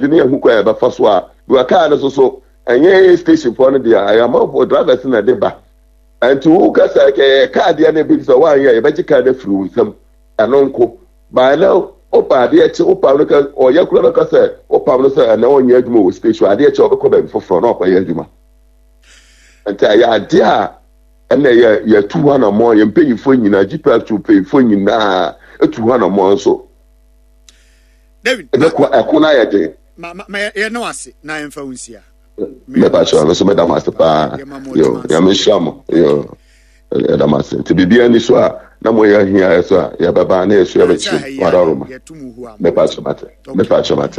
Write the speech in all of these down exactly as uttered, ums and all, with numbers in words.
Ne yɛhu kwan a yɛbɛfa so a because kaa no so so ɛnyɛ station foɔ no deɛ, ɛyɛ amanfoɔ drivers na de ba. Nti wo kasa kɛyɛ kaa deɛ no bi sɛ woanyɛ, yɛbɛgye kaa no afiri wo nsam. Ɛno nko baa na wopa adeɛ kye, wopam no ka ɔyɛ kura no ka sɛ wopam no sɛ ɛnɛ ɔnyɛ adwuma wɔ station, adeɛ kye ɔbɛkɔ baabi foforɔ na ɔkɔyɛ adwuma. Nti ɛyɛ adeɛ a ɛna yɛ yɛtu hɔ anammɔ. Yɛn mpanyinfoɔ nyinaa, G P R tu mpanyinfoɔ nyinaa etu hɔ anammɔ nso. David. Ɛbɛkɔ ɛko no ayɛ den. Ma ma ma yɛ ne wase na yɛmfa wo nsia. Mɛpa kyerɛ no so, mɛda mo ase paa. Yo, Nyame nhyira mo. Yo, ɛda mo ase. Nti biribiara ni so a na moyɛ ahia yɛ so a, yɛbɛba na yɛso yɛbɛkyerɛ wadaroma. Mɛpa kyerɛ mate, mɛpa kyerɛ mate.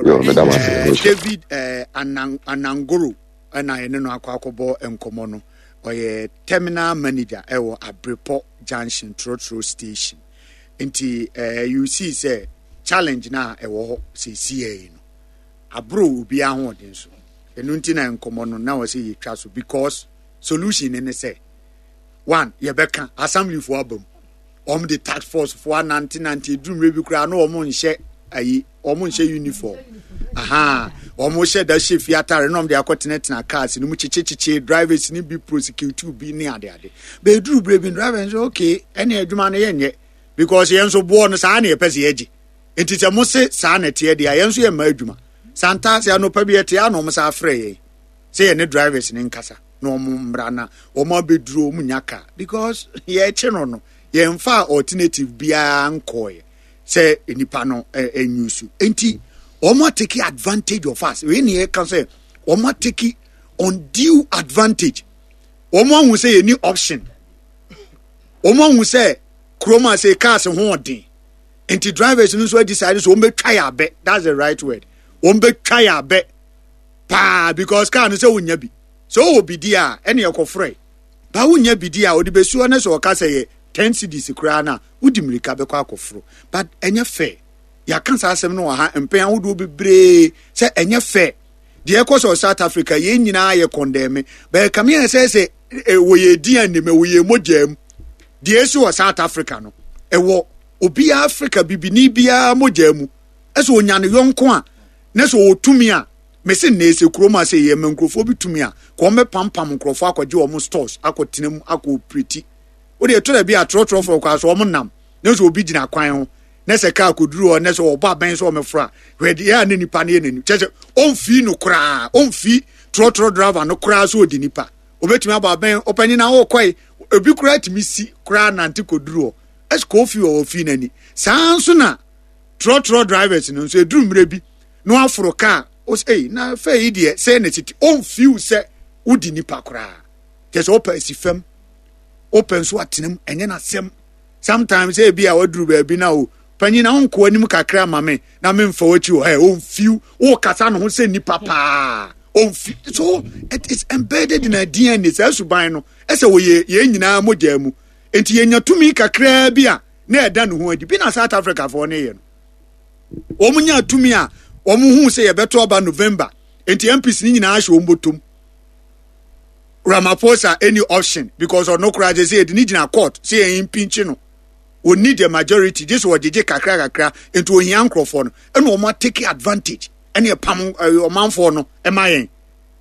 Yo, mɛda mo ase. David eh, Anang, anangoro ɛna yɛne no akɔ akɔbɔ nkɔmmɔ no. Ɔyɛ terminal manager ɛwɔ Abrepɔ Junction trotro station. Nti eh, you see sɛ challenge na ɛwɔ hɔ seesie yi no aboro obiara ahoɔden so. Ɛno nti na nkɔmmɔ no na wɔ sɛ yɛtwa so, because solution ne ne sɛ one, yɛbɛka assemblyfoɔ aba mu, wɔn de task force foɔ anante nante eduru mmerɛ bi koraa na wɔn nhyɛ ayi, wɔn nhyɛ uniform aha, wɔn hyɛ da hyɛ fie atare na wɔn de akɔ tenatena cars no mu kyekyekyekye drivers ni bi, prosecute bi ne ade ade. Bɛɛduru berɛ bi, driver nso okay, ɛne adwuma no yɛnyɛ because yɛn nso boɔ no saa na yɛpɛ sɛ yɛgye. Nti sɛ mo se saa na ɛteɛ deɛ a, yɛn nso yɛ mma adwuma santaase. Anɔpa bi yɛte a na wɔn sa afrɛ yɛn sɛ yɛne drivers ne nkasa na wɔn mmra na wɔn abɛduro wɔn nya car, because yɛrekye no no yɛnfa alternative biara nkɔɔyɛ sɛ nipa no ɛnyu so. Nti wɔn atake advantage of us. Wei ne yɛka sɛ wɔn atake undue advantage. Wɔn ahu sɛ yɛni option. Wɔn ahu sɛ kurom a sɛ cars ho ɔden, nti drivers no nso decide sɛ wɔn bɛtwa yɛ abɛ. That's the right word, wɔn bɛtwa yɛ abɛ paa, because car no sɛ wonya bi sɛ ɔwɔ bidi a ɛne ɛkɔforɛ ba wonya bidi a ɔde bɛsi hɔ ne sɛ ɔka sɛ yɛ ten cedis koraa no a, wodi mmirika bɛkɔ akɔforo. But ɛnyɛ fair. Yɛaka saa asɛm no wɔ ha mpɛn ahodoɔ bebree sɛ ɛnyɛ fair deɛ ɛkɔ sɛ South Africa. Yɛn nyinaa yɛ condemn bɛyɛ kame yɛn sɛ sɛ wɔ yɛ di anim, ɛwɔ yɛn mogya mu. Deɛ esi wɔ South Africa no, ɛwɔ obiara, Africa bibini biara mogya mu. Ɛsɛ onya ne yɔnko a ne sɛ ɔwɔ tumi a mesi nna ese kurom a sɛ yɛ ma nkurɔfoɔ bi tumi a kɔn bɛ pampam nkurɔfoɔ akɔgye wɔn stores, akɔtena mu, akɔ operate. Wode ɛtɔ da bi a trɔtrɔfoɔ kɔ so wɔn nam ne sɛ obi gyina kwan ho ne sɛ kaa kɔduru hɔ ne sɛ ɔbɔ abɛn sɛ ɔmɛforo a, hwɛ deɛ a ne nipa no yɛ n'anim kyɛ sɛ ɔmfii no koraa, ɔmfii trɔtrɔ driver no koraa so ɔdi nipa obetumi abɔ abɛn ɔpanyin na ɔrekɔe. Ebi koraa tumi si koraa nante kɔduru hɔ ɛsɛ kɔɔfi wɔ ɔfii n'ani. Saa nso na trɔtrɔ drivers no nso eduru mmerɛ bi na waforo kaa ɔsɛ ɛyi na fɛ yi deɛ sɛ na titi ɔmfiw sɛ wodi nipa koraa kyɛ sɛ ɔpɛ asi fam, ɔpɛ nso atena mu, ɛnyɛ n'asɛm. Sometimes ebi a waduru baabi na o panyin na ɔnkɔ anim kakra ma me na memfa w'akyi wɔ ɛ ɔmfiw wɔkasa ne ho sɛ nipa paa, ɔmfi. So it is embedded in our D N A. Saa suban no ɛsɛ wɔ yɛ yɛn nyinaa mogya mu. Nti yɛnya tumi kakraa bi a na ɛda ne ho adi bi na South Africa foɔ ne yɛ no, wɔn nya tumi a wɔn hu sɛ yɛbɛto aba November, nti M Ps ne nyinaa ahyɛ wɔn bɔtɔm. Ramaphosa any option because ɔno koraa sɛ sɛ yɛde ne gyina court sɛ yɛn impeach no, wɔni the majority gye sɛ wɔgyegye kakra kakra. Nti ohia nkurɔfoɔ no ɛna wɔn atake advantage ɛne ɛpam ɛɛ ɔmanfoɔ no ɛma yɛn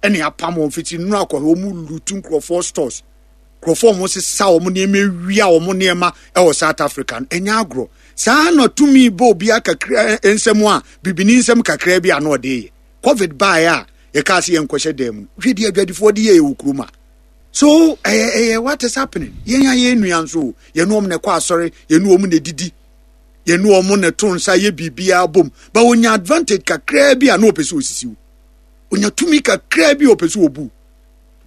ɛne apam wɔn fiti nnuro akɔhɛ. Wɔn loot nkurɔfoɔ stores, nkurɔfoɔ wɔn sesa wɔn nneɛma, ewia wɔn nneɛma ɛwɔ South Africa no. Ɛnyɛ agorɔ saa na tumi bɔ obi akakra nsɛm a bibini nsɛm kakra bi a na ɔde yɛ. Covid baeɛ a yɛkaa sɛ yɛnkɔhyɛ dan mu, hwɛ deɛ adwadifoɔ de yɛ wɔ kurom a. So ɛyɛ ɛyɛ what is happening? Yɛn a yɛn nua nso, yɛn wɔn na ɛkɔ asɔre, yɛn wɔn na edidi, yɛn wɔn na ɛto nsa yɛ biribiara bom ba, onya advantage kakraa bi a na ɔpɛ sɛ osisi wo. Onya tumi kakraa bi a ɔpɛ sɛ obu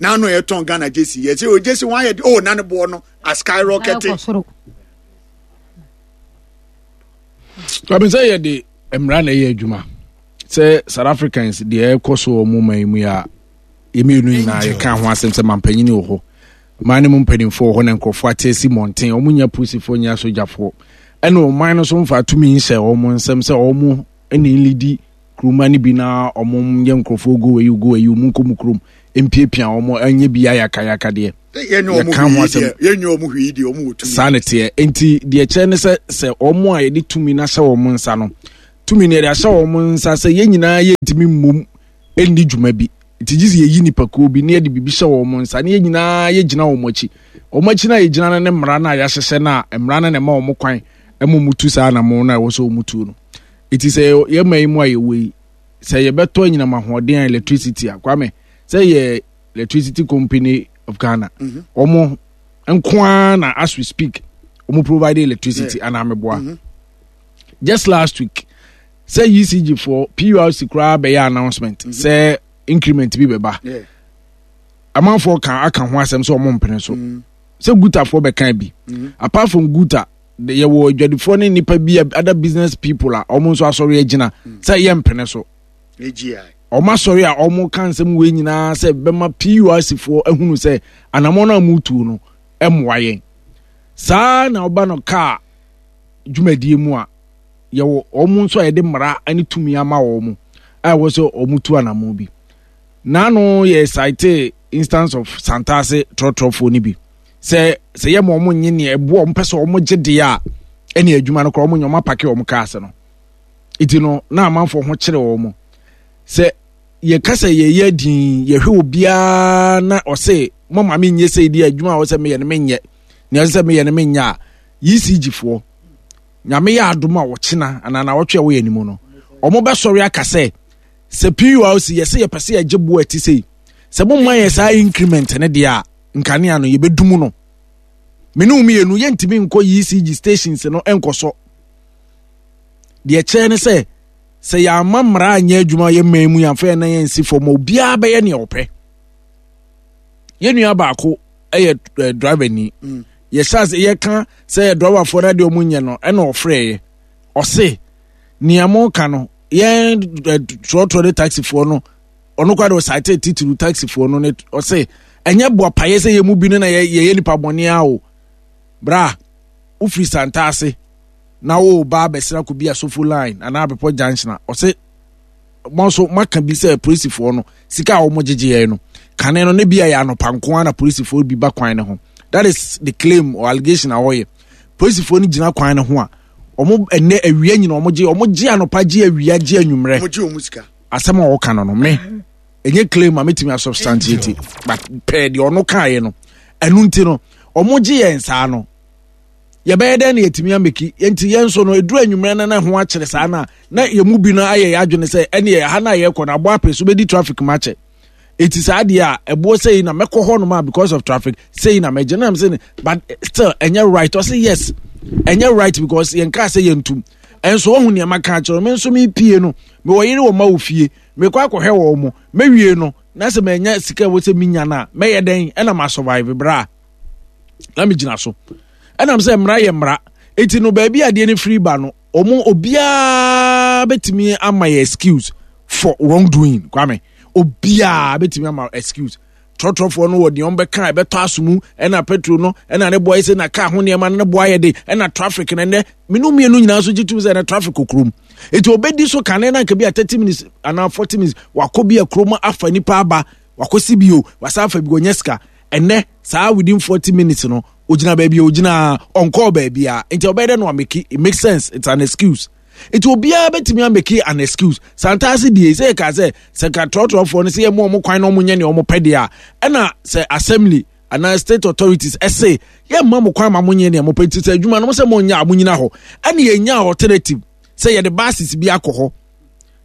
n'ano. Yɛtɔn Ghana jersey, yɛ sɛ o jersey wɔn ayɛ de o na ne boɔ no a skyrocket. Kwame, sɛ yɛde mmara na ɛyɛ adwuma sɛ South Africans deɛ ɛkɔ so wɔ mo man mu yi a, yɛmmienu nyinaa yɛka ho asɛm sɛ mampanyini wɔ hɔ, man no mu mpanimfoɔ wɔ hɔ na nkurɔfoɔ ate asi mmɔnten, wɔn nya polisifoɔ, nya sogyafoɔ, ɛna ɔman no so mfa tumi nhyɛ wɔn nsɛm sɛ wɔn ne nlidi kuroma no bi na wɔn nyɛ nkurɔfoɔ go ayi go ayi wɔn nkɔ mu kurom mpiapia wɔn anyɛ bi ayakayaka deɛ. Yɛka ho asɛm saa ne teɛ. Nti deɛ kyerɛ ne sɛ sɛ wɔn a yɛde tumi no ahyɛ wɔn nsa no Tumi no yɛde ahyɛ wɔn nsa sɛ yɛn nyinaa yɛntumi mmom nni dwuma bi. Nti gye sɛ yɛyi nipakuo bi na yɛde biribi hyɛ wɔn nsa na yɛn nyinaa yɛgyina wɔn akyi. Wɔn akyi no a yɛgyina no ne mmara no a yɛahyehyɛ no a mmara no na ɛma wɔn kwan ma wɔtu saa anammɔn no a ɛwɔ sɛ wɔtu no. Nti sɛ yɛn man yi mu a yɛwɔ yi, sɛ yɛbɛtɔ anyinam ahoɔden a electricity a, Kwame, sɛ yɛ Electricity Company of Ghana, mhm. wɔn nko ara na as we speak, wɔn provide electricity anaa meboa. Mm -hmm. Just last week, sɛ E C G foɔ P U R C koraa bɛyɛ announcement mm -hmm. sɛ increment bi bɛba. Yeah. Amanfoɔ ka aka ho asɛm sɛ ɔmo mpene so. Mm. Sɛ Gutafoɔ bɛka bi. Mm. Apart from Guta, yɛwɔ adwadifoɔ ne nipa bi, other business people a ɔmo nso asɔre agyina mm. sɛ yɛ mpene so. Ɔmo asɔre a ɔmo ka nsɛm wei nyinaa sɛ bɛma P U R C foɔ ahunu sɛ anamɔ no a mo tu no mmoa yɛn. Saa na ɔba no kaa dwumadie mu a, yɛwɔ wɔn nso a yɛde mmara ne tumi ama wɔn a ɛwɔ sɛ wɔn tu anamɔ bi. N'ano yɛ cite instance of Santase trɔtrɔfoɔ no bi sɛ sɛ yɛ ma wɔn nye nea ɛboa wɔn pɛ sɛ wɔn gye deɛ a, ɛne adwuma no koraa wɔn nyɛ, wɔn apake wɔn cars no. Eti no na amanfoɔ ho kyerɛ wɔn sɛ yɛka sɛ yɛyɛ din yɛhwɛ obiara na ɔse mo maame nyɛ sɛ di adwuma a ɔsɛ meyɛ no menyɛ nea ɔsɛ meyɛ no menyɛ a, E C G foɔ, Nyame yɛ adom a, wɔkyena anaa na wɔtwe a wɔyɛ anim no, wɔn bɛsɔre aka sɛ sɛ P U R C yɛsɛ yɛpɛ sɛ yɛgye boɔ ɛte sɛ sɛ mo mma yɛ saa increment ne deɛ a, nkanea no yɛbɛdum no. Mene wo mmienu yɛntumi nkɔ E C G stations no nkɔsɔ. Deɛ kyerɛ ne sɛ sɛ yɛama mmara anyɛ adwuma yɛ mman mu, yɛamfa yɛn nan yɛnsi fam a, obiara bɛyɛ nea ɔpɛ. Yɛn nua baako yɛ eh, driver ni mm. Yɛhyɛ ase yɛka sɛ yɛ driverfoɔ no adeɛ ɔmo nyɛ no, ɛna ɔfrɛɛ ɔse nea mo ka no, yɛn eh, trɔtrɔ ne taxifoɔ no, ɔno koraa de ɔsaete titiriw taxifoɔ no ne ɔse ɛnyɛ boapayɛ sɛ yɛn mu bi no na yɛyɛ nipa bɔne a o bra wofiri Santa ase na wo ba abɛsra kɔ bi Asofo Line anaa Abepɔ Junction a, ɔse mo nso moaka bi sɛ polisifoɔ no sika a wɔn gyegye yɛn no kane no ne bi a yɛ anɔpa nko ara na polisifoɔ bi ba kwan no ho. That is the claim or allegation a wɔyɛ. Polisifoɔ no gyina kwan no ho a, wɔn ɛnɛ awia nyina wɔn gye, wɔn gye anɔpa, gye awia, gye anwummerɛ. Wɔn gye wɔn sika. Asɛm a wɔka no no me ɛnyɛ claim a metumi asubstantiate, but pɛɛ deɛ ɔno kaeɛ no, ɛno nti no wɔn gye yɛn saa no, yɛbɛyɛ dɛn na yɛtumi ameki? Nti yɛn nso no ɛduru anwummerɛ no na ho akyerɛ saa no a, na yɛn mu bi no ayɛ yɛ adwene sɛ ɛne ha no a yɛkɔ no abɔ apɛ so bɛdi traffic mu akyɛ, ɛti saa deɛ a ɛboɔ sɛ yi na mɛkɔ hɔ nom a, because of traffic sɛ yi na mɛgye nam sɛ, but still ɛnyɛ right. Ɔsɛ yes, ɛnyɛ right because yɛn kaa sɛ yɛntum ɛnso wɔn ho nneɛma ka kyerɛ me nso mepie no, mewɔ yere wɔ ma wɔ fie, mekɔ akɔhwɛ wɔn mo, mɛwie no na sɛ manya sika ɛwɔ sɛ menya no a, mɛyɛ dɛn ɛna ma survive bra na megyina so? Ɛnam sɛ mmara yɛ mmara, eti no baabi adeɛ no firi ba no, ɔmo obiara bɛtumi ama yɛ excuse for wrongdoing. Kwame, obiara bɛtumi ama excuse. Trɔtrɔfoɔ no wɔ deɛ ɔmo bɛka ɛbɛtɔ aso mu, ɛna petrol no ɛna ne boɔ ɛsɛ na kaa ho nneɛma no ne boɔ ayɛ de, ɛna traffic no ɛnɛ menu mmienu nyinaa nso gye tum sɛ ɛnɛ traffic wɔ kurom, eti obedi so kane na nka bi a thirty minutes anaa forty minutes wakɔ bi a kurom afa nipa aba, wakɔsi bio, wasan afa bi, wɔnyɛ sika. Ɛnɛ saa within forty minutes no ogyina baabi a ogyina, ɔnkɔɔ baabi a, nti ɔbɛyɛ dɛ no ameki. It makes sense, it's an excuse. Nti obiara bɛtumi ameki an excuse. Santaase die sɛ yɛka sɛ sɛ ka trɔtrɔfoɔ no sɛ yɛma ɔmo kwan na ɔmo nyɛ nea ɔmo pɛ deɛ a, ɛna sɛ assembly anaa state authorities ɛsɛ yɛmma mo kwan ma mo nyɛ nea mo pɛ, nti sɛ adwuma no mo sɛ mo nyɛ a, mo nyina hɔ, ɛne yɛnya alternative sɛ yɛde buses bi akɔ hɔ.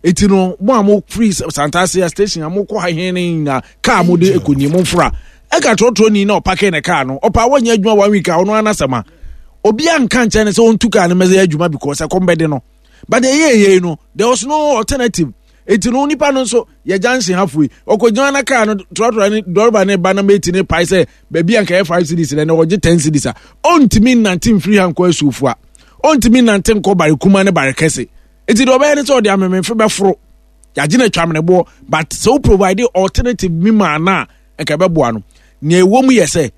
Eti no mo a mo firi Santase station a mo kɔ ha hɛn ne nyinaa, kaa mo de ekɔ nie, mo nfora ɛka trɔtrɔ ni na ɔpake ne kaa no, ɔpa wɔnyɛ adwuma one week a, ɔno anasɛm a obi anka nkyɛn ne sɛ ɔntu kaa no mɛsɛ adwuma because ɛkɔm bɛde no. But ɛyɛ yɛ no, there was no alternative. Eti no nipa no nso yɛ junction halfway ɔkɔgyina na kaa no trɔtrɔ ne dɔrɔba ne ba na meti ne pae sɛ baabi a nka yɛ five cedis na ɔgye ten cedis a, ɔntumi nnante mfiri ha nkɔ Asuofo a, ɔntumi nnante nkɔ Barekuma ne Barekɛse. Eti deɛ ɔbɛyɛ ne sɛ ɔde amememfe bɛforo yagye no atwa ameneboɔ. But sɛ wo provide alternative bi ma ana a, nka ɛbɛboa no. Nea ɛwɔ mu yɛ sɛ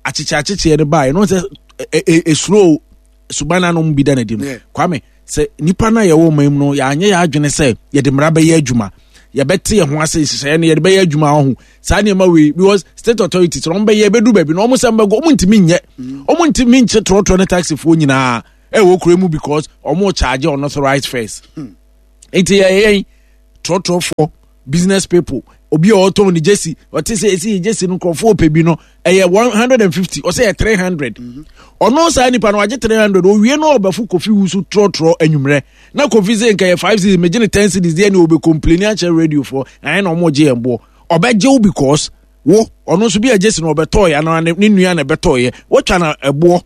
akyekyɛ akyekyeɛ no baeɛ no sɛ esuro suban anom bi da n'adi no. Kwame, sɛ nipa no a yɛwɔ ɔman mu no, yɛanyɛ yɛ adwene sɛ yɛde mmara bɛyɛ adwuma, yɛbɛte yɛn ho ase nhyehyɛeɛ no yɛde bɛyɛ adwuma ɔho saa nneɛma wei, because state authorities wɔn bɛyɛ bɛdu baabi na wɔn sɛ mbɛgɔ, wɔn ntumi nyɛ, wɔn ntumi nkye trɔtrɔ ne taxifoɔ nyinaa ɛwɔ kuro mu because wɔn charge unauthorized fares. Hmm. Nti yɛyɛ yɛn trɔtrɔfoɔ, business people, obi a ɔtɔn ne jersey, ɔte sɛ esi jersey no nkurɔfoɔ pɛ bi no ɛyɛ one hundred and fifty, ɔsɛ yɛ three hundred. Ɔno saa nipa no wagye three hundred, owie no ɔbɛfo Kofi Wusu trɔtrɔ anwummerɛ na Kofi sɛ nka yɛ five cedis, megye ne ten cedis deɛ ne ɔbɛ complain akyerɛ radio foɔ, ɛyɛ na ɔmo gye yɛn boɔ. Ɔbɛgye wo because wo ɔno nso bi a jersey no ɔbɛtɔɔ yɛ anaa ne nua na ɛbɛtɔɔ yɛ, wɔtwa na ɛboɔ.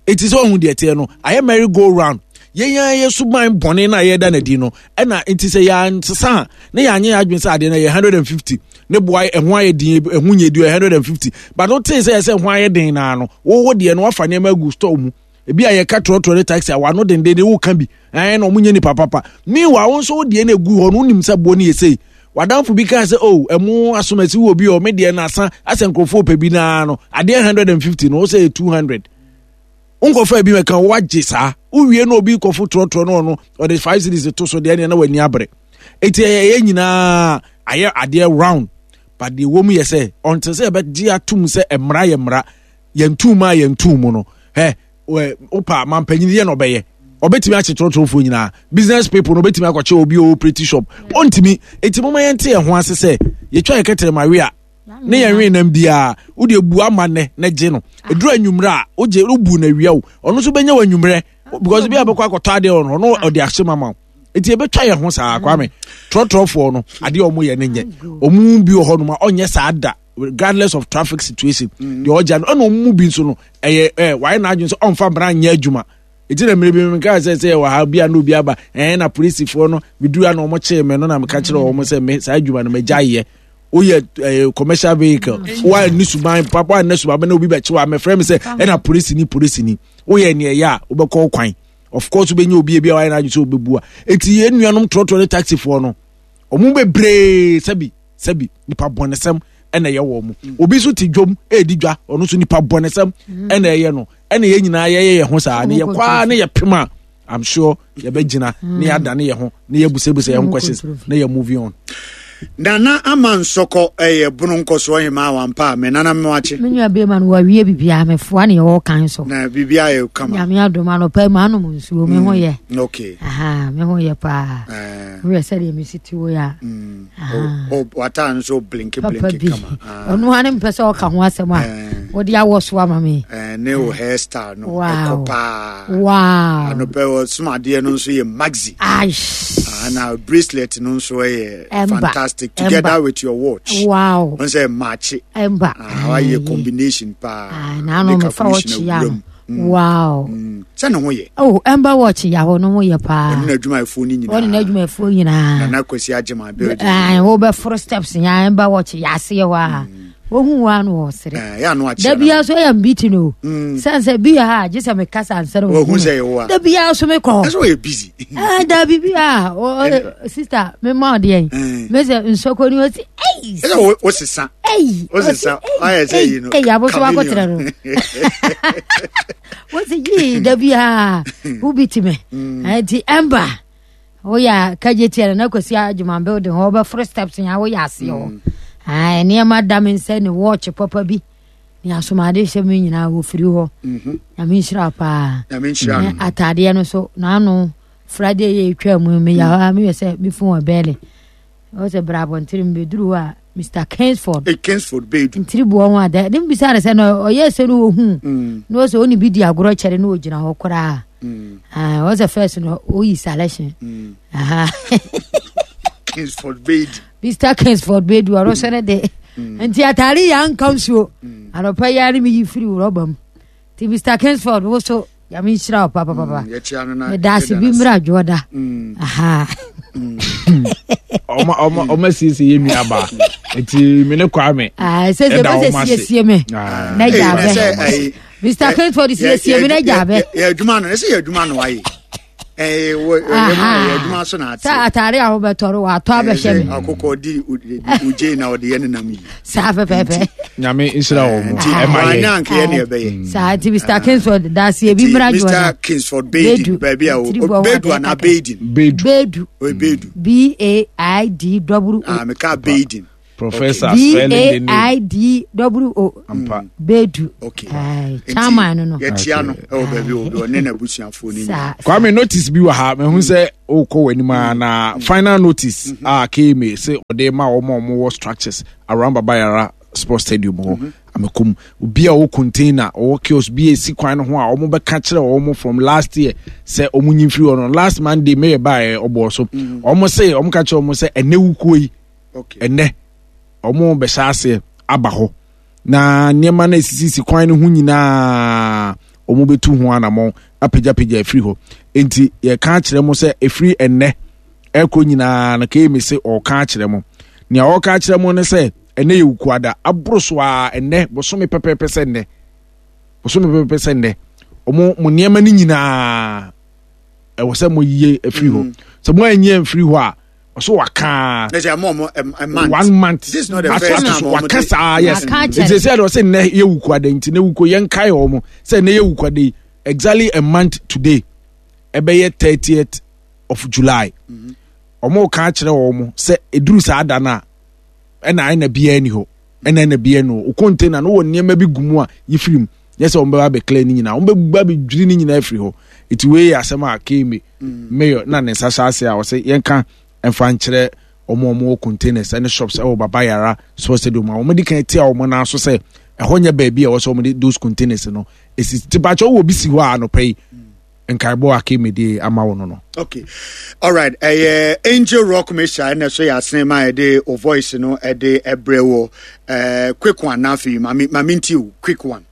Eti sɛ ɔhu deɛ teɛ no ayɛ merry go round. Yɛn yɛn yɛ suban bɔne na yɛda n'adi no ɛna nti sɛ yɛansesa a na yɛanyɛ yɛn adwene sɛ adeɛ no yɛ hundred and fifty ne boa ɛho ayɛ den, ɛho nyɛ di yɛ hundred and fifty, but wote sɛ yɛsɛ ɛho ayɛ den naa no wɔwɔ deɛ no wafa nneɛma agu store mu. Ebi a yɛka trɔtrɔ ne taxi a wano denden de woka bi ɛn na ɔmo nyɛ nipa papa. Meanwhile wo nso wo deɛ no egu hɔ no wonim sɛ boɔ no yɛ sei. Wadanfo bi kaa sɛ oh ɛmo asomasi wɔ bi ɔ me deɛ no asa asɛ nkurɔfoɔ pɛ bi naa no adeɛ hundred and fifty no wo sɛ yɛ two hundred. Nkɔfa bi mɛka wagye saa wowie na obi kɔfo trɔtrɔ no ɔno ɔde five cedis to so deɛ na w'ani abere. Eti ɛyɛ nyinaa ayɛ adeɛ round, but deɛ wɔm yɛ sɛ ɔnte sɛ yɛbɛgye atum sɛ mmara yɛ mmara, yɛn tum a yɛn tum mu no ɛ wopa mampanyin yɛ na ɔbɛyɛ ɔbɛtumi akye trɔtrɔfoɔ nyinaa, business people no ɔbɛtumi akɔkye obi a ɔwɔ shop ɔntumi. Eti mo ma yɛn te yɛn ho ase sɛ yɛtwa yɛ kɛtɛrɛ ma we a ne yɛn nwe nam biara wode ebu ama nɛ na gye no eduru anwummerɛ a wogye wobu na awia wo ɔno nso bɛnya wɔ anwummerɛ because bi a bɛkɔ akɔtɔ adeɛ wɔ no ɔno ɔde ahyɛ mama wo. Eti ebɛtwa yɛn ho saa Kwame trɔtrɔfoɔ no adeɛ a wɔn yɛ ne nyɛ wɔn bi wɔ hɔ nom a ɔnyɛ saa da regardless of traffic situation deɛ ɔgya no ɛna wɔn mu bi nso no ɛyɛ ɛ wayɛ n'adwene sɛ ɔnfa mmara nyɛ adwuma. Eti na mmiri bi mi nka sɛ sɛ wɔ ha bi a na obi aba ɛn na polisifoɔ no meduru a na wɔn kyee me no na meka kyerɛ wɔn sɛ me saa adwuma no mɛgya yɛ. Woyɛ ɛɛ commercial vehicle wa ni suban papa wa ne suban na obi bɛkye wa mɛfrɛ mi sɛ ɛna polisi ni polisi ni woyɛ nea ɛyɛ a wobɛkɔ kwan. Of course wobɛnya obi ebi a wayɛ n'adwene sɛ wobɛbu a. Eti yɛn nuanom trɔtrɔ ne taxifoɔ no ɔmo bebree sɛbi sɛbi nipa bɔnesɛm ɛna ɛyɛ wɔn mo. Obi nso te dwom ɛredi dwa, ɔno nso nipa bɔnesɛm ɛna ɛyɛ no. Ɛna yɛn nyinaa yɛyɛ yɛn ho saa ne yɛ kwaa ne yɛ pem a I'm sure yɛbɛgyina ne yɛadane yɛn ho ne yɛbusabusa yɛn ho questions ne yɛ moving on. Nana ama nsɔkɔ ɛyɛ bono nkɔsoɔ hemaa wampa a me nana mewakye. Me nua bɛrima no wawie biribiara mefoa ne yɛwɔ kan so. Na biribiara yɛ kama. Nyame adom anɔpa mu anom nsuo me ho yɛ. Okay. Aha me ho yɛ paa. Woyɛ sɛdeɛ mesi te wo yɛ a. Wataa nso blinke blinke kama. Ɔno ara ne mpɛ sɛ ɔka ho asɛm a wode awɔ so ama me. Ne wo hairstyle no ɛkɔ paa. Wow. Anɔpɛ wɔ somadeɛ no nso yɛ maxi. Aish. Na bracelet no nso yɛ fantastic together with your watch. Wow. Wɔn sɛ maakye. Ɛmba. Wayɛ combination paa. Na ano mefa watch ya no. Wow. Sɛ ne ho yɛ. Oh, ɛmba watch ya hɔ no ho yɛ paa. Ɔne n'adwumayɛfoɔ no nyinaa. Ɔne n'adwumayɛfoɔ nyinaa. Nana Kwasi Agyema building. Ɛɛ wobɛforo steps nya ɛmba watch ya aseɛ hɔ a. Wohu wa no wɔ sere. Da bia so ɛyɛ mbiti no. Sɛn sɛ bi ha gye sɛ mekasa ansa na wɔhu sɛ yɛwɔ a. Da bia so mekɔ. Ɛsɛ wɔyɛ busy. Ɛɛ da bi bi a sister me ma ɔdeɛ yi. Me sɛ nsɔkɔ ni ɔsi ɛyi. Ɛsɛ wo sesa. Ɛyi. Wo sesa ayɛ sɛ yi no. Ɛyi aboso akɔtena no. Wosi yii da bia wo bi ti me. Ɛnti ɛmba. Woyɛ kagye tia na Kwasi Agyema building hɔ wobɛforo steps nya woyɛ aseɛ hɔ. Ae, nneɛma da me nsa ne watch papa bi ne asomade hyɛ me nyinaa wɔfiri hɔ. Nyame nhyira paa. Nyame nhyira no. Ataadeɛ no so n'ano Friday yɛ etwa mu meyɛ hɔ a meyɛ sɛ me phone wɔ bɛɛle. Ɔwɔ sɛ bra abɔntere mbɛduru hɔ a Mister Kingsford. Hey, Kingsford Bedu. Ntiri boɔ ho ada. Ne mbisa ne sɛ no ɔyɛ sɛ no wɔhu. Na ɔsɛ ɔne bi di agorɔ kyɛre na ɔgyina hɔ koraa. Ah, ɔsɛ first no ɔyi selection. Aha. Kingsford Bedu. Mister Kingsford Bedu ɔno sɛ ne de. Nti atare yɛ anka nsuo. Anɔpa yi ara ne meyi firi rɔba mu. Nti Mister Kingsford wo so Nyame nhyira wo papapapa. Meda ase bi mmra dwoɔda. Aha. Ɔma ɔma ɔma siesie yɛ nua ba. Nti me ne Kwame. Ah, sɛ sɛ bɛ sɛ siesie me. Na gya bɛ. Mister Kingsford siesie me na gya bɛ. Yɛ adwuma no, ɛsɛ yɛ adwuma no ayɛ. Ɛɛ wɔ yɛ adwuma so na ate. Sɛ atare a wobɛtɔre watɔ abɛhyɛ me. Akokɔ di ogye na ɔde yɛ nenam yi. Saa pɛpɛɛpɛ. Nyame nhyira wɔ mo. Ɛma yɛ. Anya anka yɛ ne ɛbɛyɛ. Saa nti Mister Kingsford daase ebi mmra dwoɔ. Mister Kingsford Bedu baabi a o Bedu ana Beidin. Bedu. Bedu. O Bedu. B A I D W O. Ah meka Beidin. Professor B spelling the A name. I D W O. Ampa. Bedu. Okay. Aye, chairman no no. Yɛkyia no ɛwɔ baabi wɔ bi ɔne n'abusuafoɔ no nyinaa. Saa. Kwame notice bi wɔ ha mehu sɛ wokɔ w'anim a na final notice a K M A sɛ ɔde ma wɔn a wɔwɔ structures around Baba Yara Sports Stadium hɔ, Amekom, obi a ɔwɔ container, ɔwɔ kiosk bi a esi kwan no ho a wɔn bɛka kyerɛ wɔn from last year sɛ wɔn nyi mfiri hɔ no, last Monday mayor baeɛ ɔbɔɔ so, wɔn se wɔn ka kyerɛ wɔn sɛ ɛnɛ wukuo yi, Okay. ɛnɛ wɔn bɛhyɛ aseɛ aba hɔ na nneɛma no esisisi kwan no ho nyinaa wɔn bɛtu ho anammɔn apagyapagya afiri hɔ. Nti yɛka akyerɛ mo sɛ efiri ɛnɛ ɛkɔ nyinaa no, K M A sɛ ɔka akyerɛ mo, nea ɔka akyerɛ mo ne sɛ ɛnɛ yɛ wukuada aboro so a ɛnɛ bosome pɛpɛɛpɛ sɛ nnɛ, bosome pɛpɛɛpɛ sɛ nnɛ, wɔn mo nneɛma no nyinaa ɛwɔ sɛ mo yie afiri hɔ. Sɛ mo anyɛ mfiri hɔ a, ɔso wakaa Ɛsɛ ama ɔmo a- a month. One month. This is not the Ato first ato time so ɔmo waka de- saa, yes. Waka akyerɛ. Nti sɛ ɛde ɔsɛ nnɛ yɛ wukuada, nti ne wukuo yɛnkae wɔn sɛ nnɛ yɛ wukuada yi, exactly a month today ɛbɛyɛ thirtieth of July. Wɔn ka akyerɛ wɔn sɛ eduru saa da no a, ɛna ɛna biara ni hɔ, ɛna ɛna biara ni hɔ. O container no wɔ nneɛma bi gu mu a yɛfiri mu nyɛ sɛ wɔn bɛba abɛclear ne nyinaa, wɔn bɛba abɛdwiri ne nyinaa afiri hɔ. Eti wei yɛ asɛm a K M A mayor na ne nsa hyɛ ase a ɔsɛ yɛnka mfa nkyerɛ wɔn a wɔwɔ containers ɛne shops ɛwɔ Baba Yara Sports Stadium a wɔn de kan tia wɔn nan so sɛ ɛhɔ nyɛ baabi a ɛwɔ sɛ wɔn de those containers no esi. Ti bakyɛ wɔ bi si hɔ a, anɔpɛ yi nkaebɔ a K M A de ama wɔn no no. Okay, alright, ɛyɛ Angel Rock Mixture ɛna so yɛ asene ma yɛde o voice no ɛde ɛbrɛ wɔ ɛɛ quick one. Na afei maame maame nti o quick one.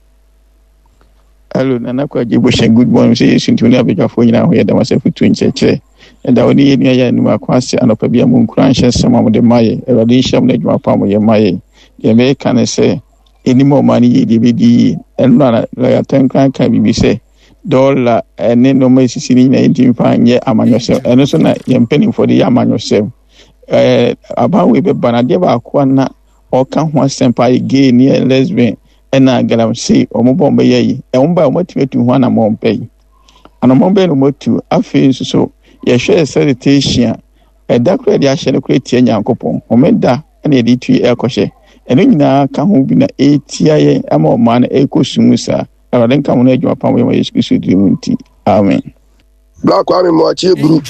Hello, Nana Kwagye Boshe, good morning. Sɛ Yesu ntumi ne abadwafoɔ nyinaa ho yɛ dɛm asɛ fotuo nkyerɛkyerɛ. Ɛda wo ne yɛ nua yɛ anim ako ase anɔpa bi a mo nkura nhyɛ nsɛm a mode ma yɛ. Awurade nhyira mo no adwuma pa a moyɛ ma yɛ. Deɛ mɛka ne sɛ, ɛnim a ɔma no yie deɛ ɛbɛdi yie. Ɛno na lɔya Tɛnkran ka biribi sɛ dɔla ɛne nneɛma esisi ne nyinaa yɛntumi fa nyɛ amanyɔsɛm. Ɛno nso na yɛn mpanimfoɔ de yɛ amanyɔsɛm. Ɛɛ aban wei bɛba no, adeɛ baako a na ɔka ho asɛm paa yɛ gay ne yɛ lesbian ɛna galamsey. Wɔn bɔ wɔn bɛyɛ yi, ɛwɔn ba a wɔn atumi atu ho anammɔn bɛyi anammɔn bɛyɛ na wɔn atu. Afei nso so yɛhwɛ sanitation a ɛda koro yɛde ahyɛ no koro etia Nyankopɔn homeda ɛna yɛde tu ɛkɔhyɛ. Ɛno nyinaa ka ho bi na etia yɛn ama ɔman no ɛkɔ sum saa. Awurade nka mo no adwuma pam yɛ ma Yesu Kristo diri mu nti, amen. Black Kwame Mmoakye Eburu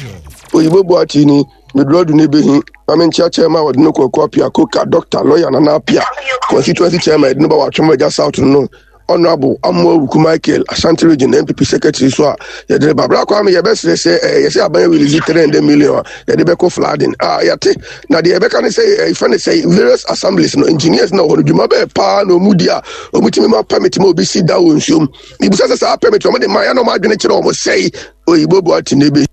Oyibo Boakye ni meduro ne behi na menkyia chairman wɔde no kɔkɔ Apia Koka, doctor lawyer Nana Apia, constituency chairman yɛde no ba Watwom Agya South no, Honorable Amoa Wuku Michael, Ashanti Region N P P secretary so a yɛde ne ba. Black Kwame, yɛbɛsrɛ sɛ ɛɛ yɛsɛ aban release three hundred million a yɛde bɛkɔ flooding a yɛte na deɛ yɛbɛka ne sɛ ɛfɛ ne sɛ various assemblies no engineers na wɔn dwuma bɛɛ paa na ɔmu di a ɔmu tumi ma permit ma obi si da wɔ nsuom. Ibisa sɛ saa permit wɔn de ma yɛn na wɔn adwene kyerɛ wɔn sɛyi Oyibo Boakye ne bi.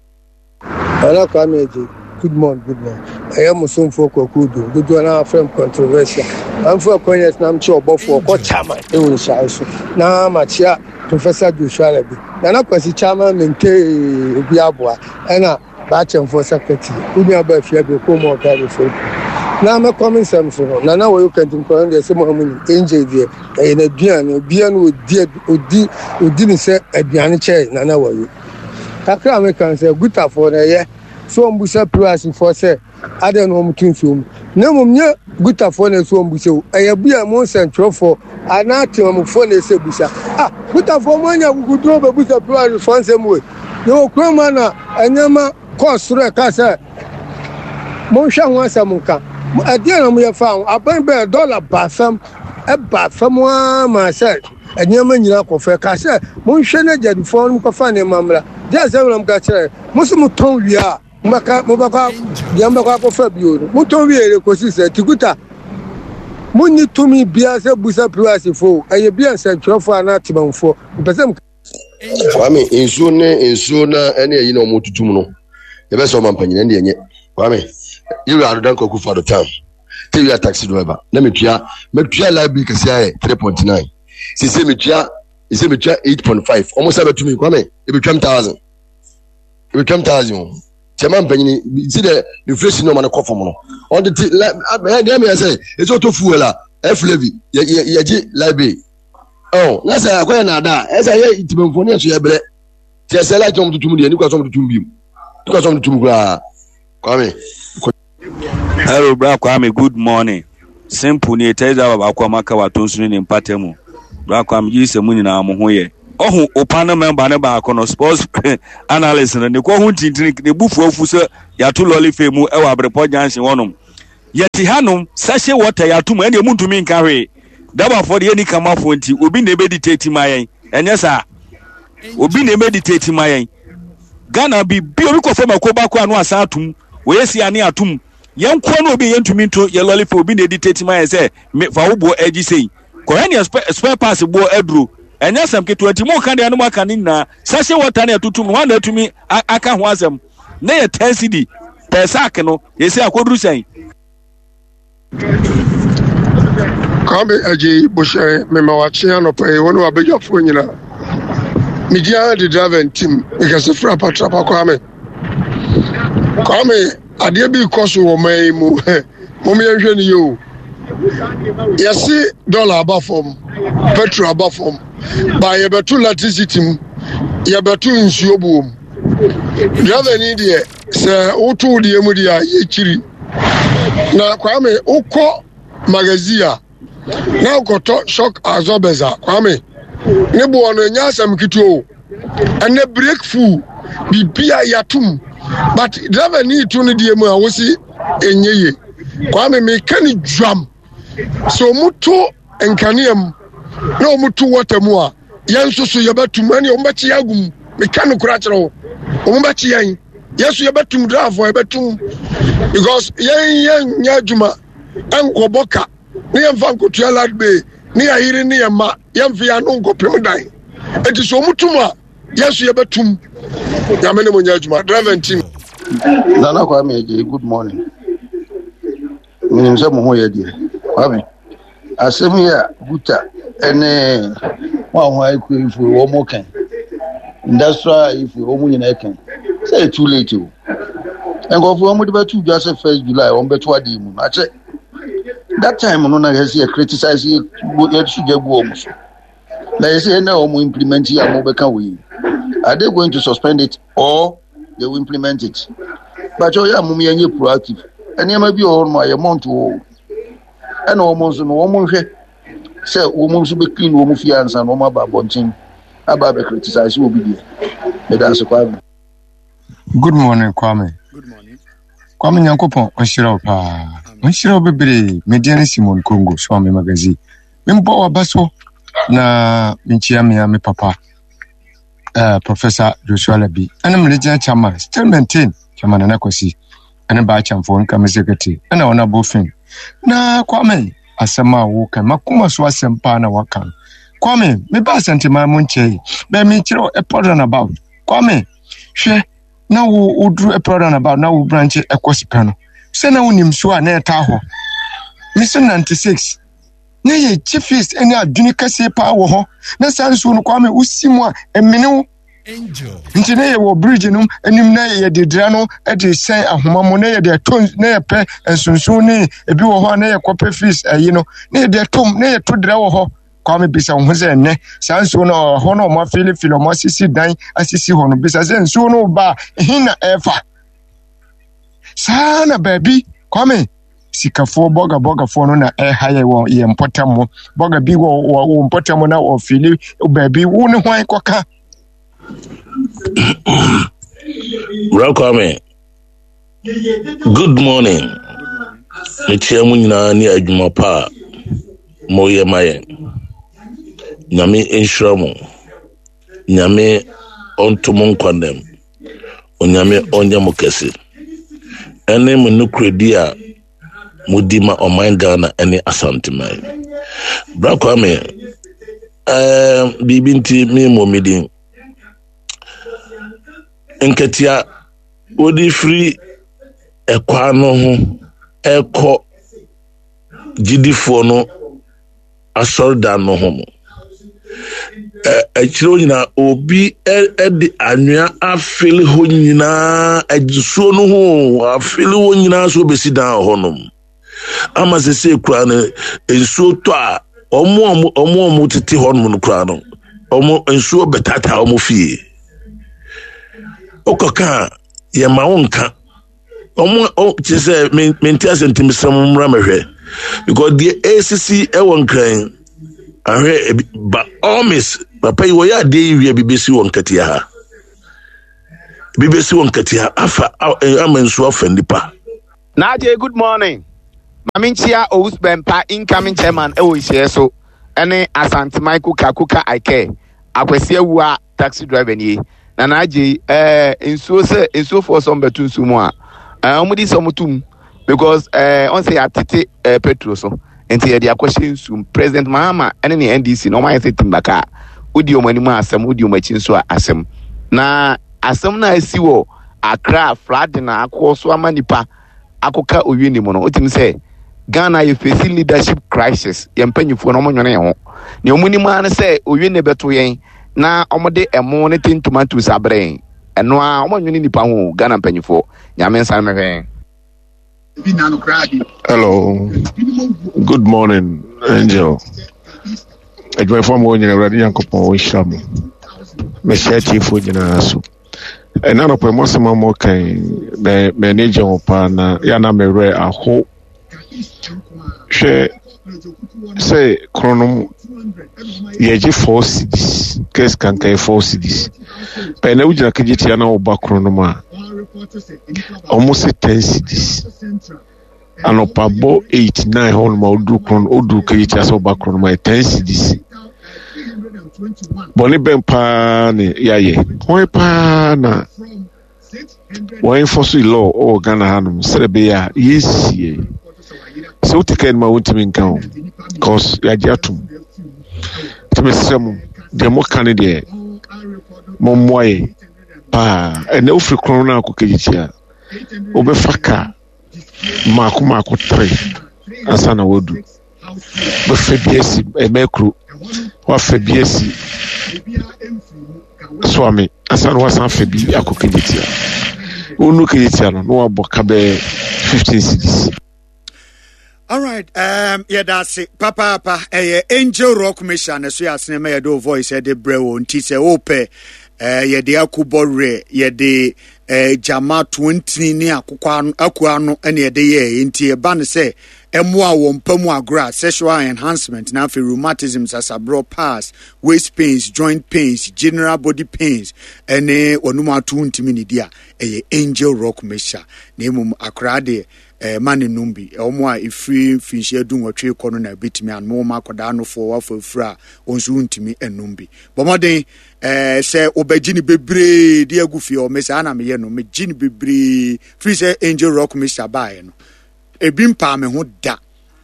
Nana Kwame Agye, good morning, good morning. Ɛyɛ Musomfoɔ Kwaku Dum, dodoɔ no afrɛ m controversial. Mamfo akɔnyɛ na mkyɛ ɔbɔfoɔ ɔkɔ chairman ɛwɔ nhyɛe so. Na makyea Professor Joshua Alabi. Nana Kwasi chairman mente obi aboa. Ɛna baakyɛmfoɔ secretary. Wo nua ba afia bi kɔ mu ɔka de fo. Na mɛkɔ me nsɛm so no. Nana wɔyɛ kantinkɔn deɛ sɛ mo amu nim. Angel deɛ ɛyɛ n'aduane. Obiara no ɔdi ɔdi ɔdi ne sɛ aduane kyɛɛ Nana wɔyɛ. Kakra a meka sɛ gutafoɔ no ɛyɛ sɛ wɔn busa pirasifoɔ sɛ adɛn na wɔn to nsuo mu, na mmom nyɛ gutafoɔ na ɛsɛ wɔn busa o, ɛyɛ bia mo nsɛntwerɛfoɔ anaa temamufoɔ na ɛsɛ busa. Ah, gutafoɔ mo anya akukuduro bɛbusa pirasifoɔ nsɛm wei. Yɛwɔ kurom a na nneɛma kɔɔ soro, ɛka sɛ monhwɛ ho asɛm nka ɛdeɛ na moyɛ fa ho. Aban bɛɛ dɔla ba fam, ɛba fam ara ma sɛ nneɛma nyinaa kɔ fɛ ka sɛ monhwɛ no agyadifoɔ no kɔfa nneɛma mmra gye asɛm na moka kyerɛ mo so motɔn wie a mobɛka mobɛkɔ deɛ mobɛkɔ akɔfa bio no motɔn wie de kɔsi sɛ tikuta monni tumi biara sɛ busa pirasifo, ɛyɛ bi a nsɛntwerɛfoɔ anaa temamfoɔ mpɛ sɛ Kwame, nsuo ne nsuo na ɛne ɛyi na ɔmo tutum no, yɛbɛsɛ ɔma mpanyin ɛne ɛnyɛ. Kwame, yɛwura Adodan Kwaku Fado town te wia taxi driver na metua metua light bill kɛse ayɛ three point nine, sese metua sese metua eight point five. Ɔmo sɛ bɛtumi Kwame ebetwam thousand, ebetwam thousand o. Sɛ ma mpanyin si dɛ inflation na ɔma no kɔ fam no, ɔde te lɛ ɛɛ deɛ mi yɛ sɛ esi ɔtɔ fuel a ɛf levy yɛ yɛ yɛgye light bill ɔ na sɛ akɔyɛ naada a ɛsɛ yɛ ntimɛnfoɔ ne yɛ so yɛ brɛ tí ɛsɛ light na ɔmo tutum deɛ ne kura sɛ ɔmo tutum bi mu ne kura sɛ ɔmo tutum koraa, Kwame. Hello, Bra Kwame. Good morning. Simple nie, taxi driver baako a maka wɔ Atonsu ne ne mpata mu. Bra Kwame, gye di sɛ mo nyinaa mo ho yɛ. Ɔho opa no member no baako no, sports analyst no, ne kɔ ho ntintini, ne bu fu afu sɛ yɛato lɔle fɛ mu ɛwɔ Abrepɔ junction hɔnom. Yɛte hanom, sachet water yɛato mu, ɛnneɛ montumi nka hwee. Dabafoɔ deɛ yɛnni kamafoɔ nti, obi na ɛbɛdictate ma yɛn, ɛnyɛ saa? Obi na ɛbɛdictate ma yɛn. Ghana bi bi obi kɔfa mako baako ano asan atom, wɔyɛ si ane atom. Yɛn nkoa no obi yɛntumi nto yɛ lɔle fɛ, obi na ɛdictate ma yɛn sɛ me fa wo boɔ agyi sei. Kɔhwɛ neɛ spare, spare parts boɔ aduro. Ɛnyɛ asɛm ketewa nti mo ka deɛ no mo aka ne nyinaa. Sachet water ne ɛtotom no, hwan na atumi aka ho asɛm? Ne yɛ ten cedi per sack no, yɛsɛ akɔduru sɛn? Kwame Agyei Bohyɛn, mema wakye anɔpa yi, wo ne w'abadwafoɔ nyinaa. Megye ara de driver ntim, mekɛse fra patrapa Kwame. Kwame, adeɛ bi rekɔ so wɔ man yi mu, mom yɛnhwɛ no yie o. Yɛse dɔla aba fam, petrol aba fam, ba yɛbɛto electricity mu, yɛbɛto nsuo buo mu. Driver ni deɛ, sɛ woto wo deɛ mu deɛ a, yɛkyiri. Na Kwame, wokɔ magazine a, na wokɔtɔ shock absorbers a, Kwame, ne boɔ no ɛnyɛ asɛm ketewa o. Ɛnɛ break full, biribia yɛatom. But driver ni to no deɛ mu a, wosi ɛnyɛ yie. Kwame, meka ne dwam. Sɛ ɔmo to nkanea mu na ɔmo to water mu a, yɛn nso so yɛbɛtum, ɛne ɔmo bɛkye yɛn agu mu. Meka no kora kyerɛ wo, ɔmo bɛkye yɛn, yɛn nso yɛbɛtum, driver yɛbɛtum, because yɛn yɛn nyɛ adwuma ɛnkɔbɔ ka ne yɛn fa nkotua light bill ne yɛn yere ne yɛn mma, yɛn fa yɛn ano nkɔpem dan. Eti so ɔmo tum a, yɛn nso yɛbɛtum. Nyame ne mo nyɛ adwuma, driver team. Nana Kwame Agyei, good morning. Menim sɛ mo ho yɛ deɛ. Kwame, asɛm yi a Guta ne mo a ho ayɛ ifo wɔn mo kan, industrial ifo wɔn nyinaa kan, sɛ yɛ too late o. Nkurɔfoɔ wɔn de bɛto dwa sɛ first July wɔn bɛto adeɛ mu no akyɛ. That time no na yɛ sɛ yɛ criticize yɛ yɛ so gya gu wɔn so. Na yɛ sɛ yɛn na wɔn implement yi a wɔn bɛka wɔ yi. Are they going to suspend it or they will implement it? But ɔyɛ a mom yɛnyɛ proactive. Nneɛma bi wɔ hɔ nom a yɛ mɔnto hɔ. Ɛna wɔn nso no wɔn nhwɛ sɛ wɔn nso bɛ clean wɔn fie ansa na wɔn aba abɔnten aba abɛ criticize obi deɛ. Meda ase Kwame. Good morning Kwame. Good morning. Kwame Nyankopɔn ɔnhyira wo paa. Ɔnhyira wo bebree. Me din ne Simon Congo, Swami Magazine. Membɔ w'aba so na menkyia me a me papa uh, Professor Joshua Labi ɛne me regional chairman still maintain chairman Nana Kwasi ɛne baa kyɛmfoɔ nka me secretary ɛna wɔn abɔ fin na Kwame asɛm a woka makoma so asɛm paa na waka no Kwame meba Asantema mu nkyɛe bɛn mekyerɛ ɛpɔ runabout Kwame hwɛ na wo woduru ɛpɔ runabout na wo branch ɛkɔ sika no sɛ na wonim so a na ɛtaa hɔ me sɛ ninety six na yɛ gye fees ne adwene kɛseɛ paa wɔ hɔ na saa nsuo no Kwame wosi mu a ɛmene wo nti na yɛwɔ bridge no anim na yɛde dra no de sɛn ahoma mu na yɛde ɛtɔ na yɛpɛ nsonson ne ebi wɔ hɔ a na yɛkɔpɛ fees ayi no na yɛde ɛtɔ na yɛto dra wɔ hɔ Kwame bisa wo ho sɛ ɛnɛ saa nsuo no ɛhɔ no ɔmo afilifili ɔmo asisi dan asisi hɔ no bisa sɛ nsuo no ba a ɛhe na ɛfa saa na baabi Kwame sikafoɔ bɔga bɔgafoɔ no na ɛha yɛ wɔ yɛn mpɔtam mo bɔga bi wɔ wɔ wɔ mpɔtam na ɔfili baabi wo ne hwan kɔka. Bra Kwame, good morning. Mekyia mu nyinaa ne adwuma pa a moyɛ ma yɛn. Nyame nhyira mo. Nyame ɔnto mo nkwa nnam. Onyame ɔnyɛ mo kɛse. Ɛne mo nokorɛdi a modi ma ɔman Ghana ne Asanteman. Bra Kwame, ɛɛ biribi nti memmɔ me din. Nkatia wode firi ɛkwan no ho ɛkɔ gyidifoɔ no asɔredan no ho no, akyire hɔ nyinaa obi de anwea afele hɔ nyinaa, nsuo no ho afele hɔ nyinaa so bɛsi dan wɔ hɔnom. Ama sese kura no nsuo tɔ a wɔn a wɔn a wɔtete hɔnom no kura no, wɔn nsuo bɛtaataa wɔn fie. Wokɔka a yɛma wo nka. Wɔn kyerɛ sɛ mente ase nti mesrɛ mo mmra mɛhwɛ. Because deɛ ɛresisi ɛwɔ Nkran ahwɛ ebi ba all miss papa yi wɔyɛ adeɛ yi wie bi bɛsi wɔ Nkatia ha. Bi bɛsi wɔ Nkatia afa ama nsuo afa nipa. Naje, good morning. Mame nkyia Owusu Bɛmpa incoming chairman ɛwɔ nhyiɛ so ɛne Asante Michael Kakuka Ike Akwasi Awua taxi driver nie. Na Naje ɛɛ nsuo sɛ nsuofoɔ sɛ ɔmbɛto nsuo mu a ɛɛ ɔmo di sɛ ɔmo tum because ɛɛ ɔn sɛ yɛatete ɛɛ petrol so nti yɛde akɔhyɛ nsuo mu. President Mahama ɛne ne N D C na ɔmo ayɛ sɛ timbaka a wodi ɔmo anim a asɛm, wodi ɔmo akyi nso a asɛm. Na asɛm na asi wɔ Accra flooding na akɔ so ama nipa akɔka owie ne mu no, wotumi sɛ Ghana yɛ facing leadership crisis. Yɛn mpanyinfoɔ no ɔmo nwene yɛn ho. Nea ɔmo nim ara ne sɛ owie ne bɛto yɛn na ɔmo de ɛmo ne tin tomatoes abrɛ yɛn. Ɛno ara ɔmo nwene nipa ho. Ghana mpanyinfoɔ Nyame nsa mehwɛ yɛn. Hello, good morning, Angel. Adwumayɛfoɔ a mowɔ nyina Awurade Nyankopɔn ɔnhyira mo. Mehyɛ atiefoɔ nyinaa so. Ɛna anɔpa mu asɛm a mokan m'ani gye ho paa na yɛ na mewerɛ aho. Hwɛ sɛ kronom yɛgye four cedis, kɛs kankan yɛ four cedis. Ɛna wogyina kegye tia na woba kronom a ɔmo se ten cedis. Anɔpa bɔ eight nine hɔ nom a woduru kron woduru kegye tia sɛ woba kronom a ten cedis. Bɔne bɛn paa ne yɛayɛ? Hwan paa na wɔn enforce law ɔwɔ Ghana hanom sɛdeɛ ɛbɛyɛ a yɛnsie? Sɛ wote kaa no mu a wontumi nka ho cause yɛagye atom. Nti mesrɛ mo deɛ moka ne deɛ mommoa yɛ paa. Ɛnɛ wofiri kron no akɔ kegye tia wobɛfa kaa mmaako mmaako tere ansa na wadu. Bɛfa bi asi ɛmɛkuro, wafa bi asi Soame ansa na wasan fa bi akɔ kegye tia. Wonu kegye tia no na wabɔ ka bɛyɛ fifteen cedis. All right, um, yɛda ase papaapa. Ɛyɛ Angel Rock Mission ɛso yɛ asene ma yɛde o voice ɛde brɛ wɔ nti sɛ wopɛ eh, yɛde akubɔ werɛ yɛde eh, gyama tontini ne akokɔ ano aku ano ɛne yɛde yɛɛ nti ɛba no sɛ ɛmmoa wɔ mpa mu agorɔ a sexual enhancement na afei rheumatism, sasaborɔ, pass, waist pains, joint pains, general body pains ɛne wɔnom ato ntumi ne di a ɛyɛ Angel Rock Mixture. Na mmom akoraa deɛ eh, ma ne nom bi. Wɔn a ɛfiri mfinhyia du nwɔtwe kɔ no na ɛbɛtumi anom. Wɔn akwadaa nofoɔ wafa afiri a wɔn nso ntumi nnom bi. Bɔ mmɔden eh, sɛ wobɛgye ne bebree de agu fie hɔ. Me saa na meyɛ no, megye ne bebree firi sɛ Angel Rock Mixture baeɛ no, ebi mpaa me ho da.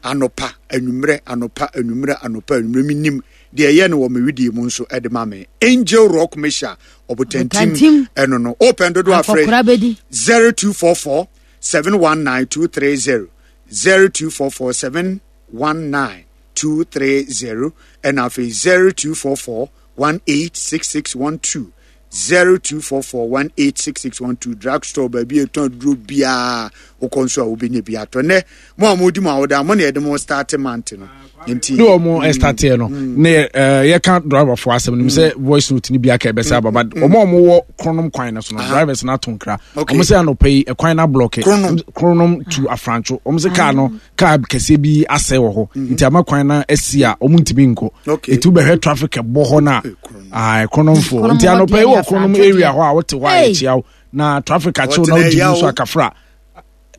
Anɔpa anwummerɛ, anɔpa anwummerɛ, anɔpa anwummerɛ, menim deɛ ɛyɛ no wɔ me wedie mu nso ɛde ma me. Angel Rock Mixture ɔbotantim ɛno no. Open dodo afrɛ zero two four four seven one nine two three zero, zero two four four seven one nine two three zero, ɛna afei zero two four four one eight six six one two, zero two four four one eight six six one two. Drugstore baabi a ɛtɔn aduro biara wokɔ nso a wobɛnya bi atɔ. Nnɛ mo a modi mo awoda mo na yɛde mo start month no nti ne wɔn ɛstarteɛ no ne yɛka driverfoɔ asɛm no sɛ voice note no bi aka ɛbɛsɛ aba, but wɔn a wɔwɔ Kronom kwan no so no, drivers no ato nkra. Wɔn sɛ anɔpa yi ɛkwan no ablɔke Kronom to Afrancho. Wɔn sɛ kaa no kaa kɛseɛ bi asɛe wɔ hɔ nti ama kwan no asi a wɔn ntumi nkɔ. Etu bɛhwɛ traffic ɛbɔ hɔ no a Kronomfoɔ nti anɔpa yi wɔ Kronom area hɔ a wote hɔ a yɛkyia wo na traffic akyew na wodi mu so akafra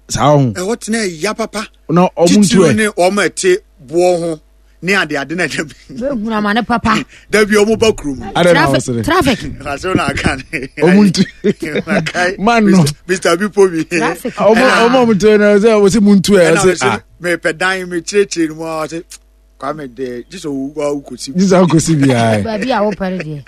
saa ho. Ɛhɔ tena ɛya papa. Na ɔmo ntu ɛ. Titiri ne wɔn a ɛte boɔ ho ne ade ade na dabi. Bɛhunu ama ne papa. Dabi ɔmo ba kurom. Adɛ na ɔsere. Traffic. Asɛm na aka ne. Ɔmo ntu. Man no. Mister Bipo bi. Traffic. Ɔmo ɔmo ɔmo ntu na ɔsɛ ɔsɛ mu ntu ɛ ɔsɛ ah. Mepɛ dan mi kyerɛkyerɛ mu a ɔsɛ Kwame de gye sɛ owu kɔsi. Gye sɛ ɔkɔsi biara. Baabi a wopɛre deɛ.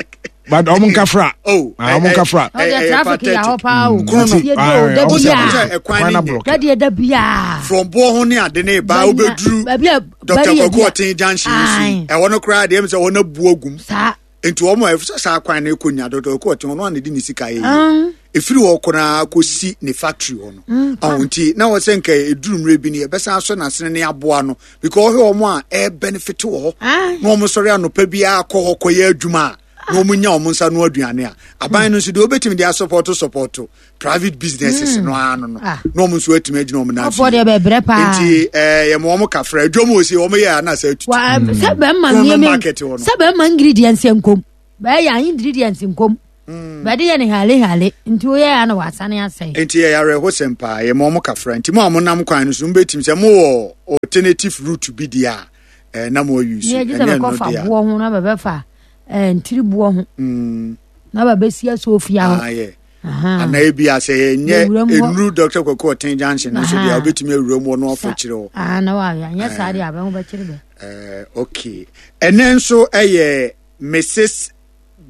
But ɔmo nkafra. Oh, ɔmo nkafra. Ɔdeɛ traffic yɛ hɔ paa o. Yɛ di o da bia. Ɛkwan ne nyɛ. Dadeɛ da bia. From boɔ ho ne ade ne ba wobɛduru. Baabi a Doctor Kwaku Ɔten junction yi so. Ɛhɔ no koraa deɛ ɛmu sɛ wɔn abu agum. Saa. Nti wɔn a ɛfisɛ saa kwan no kɔ nya Doctor Kwaku Ɔten ɔno a na de ne sika yɛ yie. Efiri hɔ koraa kɔsi ne factory hɔ no. Ɔho nti na wɔ sɛ nka eduru mmerɛ bi no yɛbɛsan asɔ n'asene ne aboa no because ɔhwɛ wɔn a ɛɛbenefit wɔ hɔ. Na wɔn sɔre anɔpa biara kɔ hɔ kɔyɛ adwuma a. na wɔn nya wɔn nsa no aduane a aban no nso deɛ wɔbɛtumi de asɔpɔto sɔpɔto private businesses mm. no ano no ah. Na wɔn nso atumi agyina wɔn nan so nti ɛɛ yɛ mo wɔn kafra adwom wɔ si wɔn yɛ anasa atutu. Sɛ bɛrima nneɛma sɛ bɛrima ingredients nkom bɛyɛ ingredients nkom mm. Bɛde yɛ ne hale hale nti woyɛ ya na wasane asɛe. Nti yɛ awerɛhosɛm paa, yɛ ma ɔmo kafra. Nti mo a monam kwan no so mobɛtumi sɛ mowɔ alternative route bi deɛ a eh, na mo ayi so. Ɛnyɛ ɛno deɛ boɔ ho na bɛbɛfa eh, ntiri boɔ ho mm. Na bɛbɛsi asofia hɔ. Ah, yeah. Anaa ebi a sɛ ɛnyɛ nnuru Doctor Kwaku Ɔten junction no so deɛ a wobɛtumi awura mu ɔno afɔ kyerɛ hɔ. Ah, na wayɛ anyɛ saa deɛ abɛho bɛkyerɛ bɛ. Eh, okay, ɛnɛ nso ɛyɛ Missus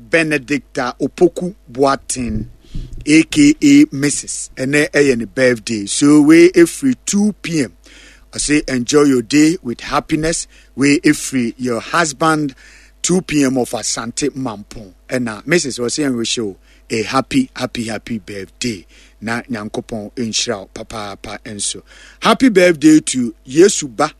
Benedicta Opoku Boateng aka Missus Ɛnɛ ɛyɛ ne birthday, so wei ɛfiri two p m. Ɔse enjoy your day with happiness. Wei ɛfiri your husband two p m of Asante Mampong. Ɛna Missus ɔse ɛnwihyɛ o a happy, happy, happy birthday na Nyankopɔn nhyira wo papaapa nso. Happy birthday to Yesu Ba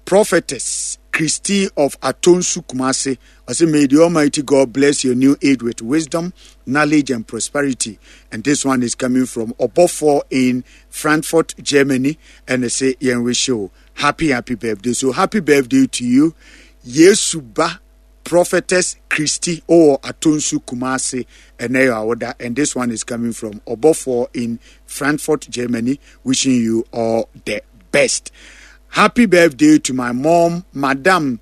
Prophetess Christy of Atonsu Kumasi. I say, may the Almighty God bless your new age with wisdom, knowledge, and prosperity. And this one is coming from Obofo in Frankfurt, Germany. And I say, Yen wish you happy, happy birthday. So happy birthday to you. Yesuba Prophetess Christy or Atonsu Kumasi and And this one is coming from Obofo in Frankfurt, Germany, wishing you all the best. Happy birthday to my mom, Madam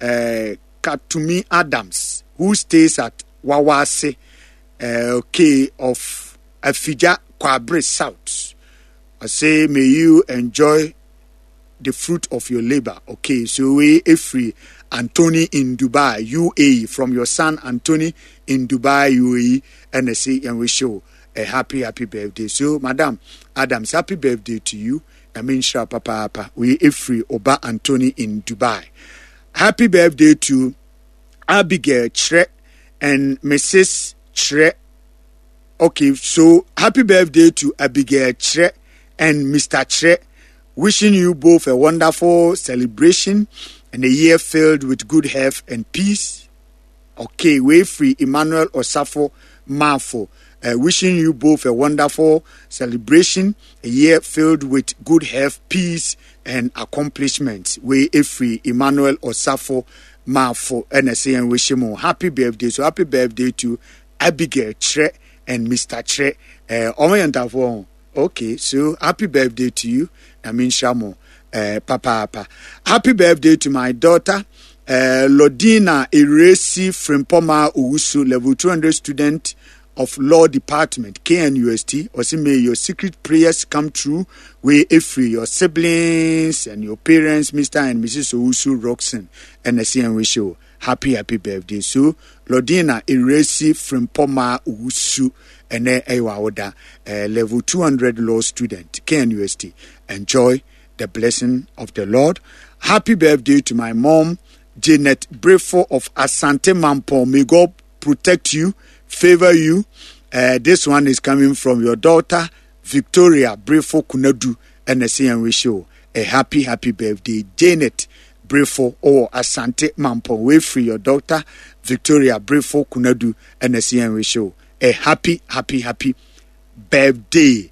uh, Katumi Adams, who stays at Wawase, uh, okay, of Afija Kwabre South. I say, may you enjoy the fruit of your labor. Okay, so we free Anthony in Dubai, U A E, from your son Anthony in Dubai, U A E, and I say, and we show a happy, happy birthday. So, Madam Adams, happy birthday to you. Nyame nhyira papaapa. Wei ɛfiri Oba Anthony in Dubai. Happy birthday to Abigail Kyerɛ and Missus Kyerɛ. Okay, so happy birthday to Abigail Kyerɛ and Mister Kyerɛ. Wishing you both a wonderful celebration and a year filled with good health and peace. Okay, wei firi Emmanuel Osafo Mafo. Uh, wishing you both a wonderful celebration, a year filled with good health, peace, and accomplishments. Wei firi Emmanuel Osafo Mafo and saying wish him happy birthday. So happy birthday to Abigail Tre and Mister Tre. Uh, okay, so happy birthday to you. Nyame nhyira mo uh, papaapa. Happy birthday to my daughter, uh, Lodina Iresi Frimpoma Owusu, level two hundred student of Law Department, K N U S T. Ɔse may your secret prayers come true. Wei ɛfiri your siblings and your parents, Mister and Missus Owusu Roxon. And I wish you happy, happy birthday. So, Lodina Iresi Frimpoma Owusu, ɛnɛ ɛyɛ w'awoda, uh, level two hundred law student, K N U S T. Enjoy the blessing of the Lord. Happy birthday to my mom, Janet Brefo of Asante Mampong. May God protect you, favor you. Uh, this one is coming from your daughter, Victoria Brefo Kunadu, and I say and wish you a happy, happy birthday, Janet Brefo or Asante Mampong. Wei firi your daughter, Victoria Brefo Kunadu, and I say and wish you a happy, happy, happy birthday.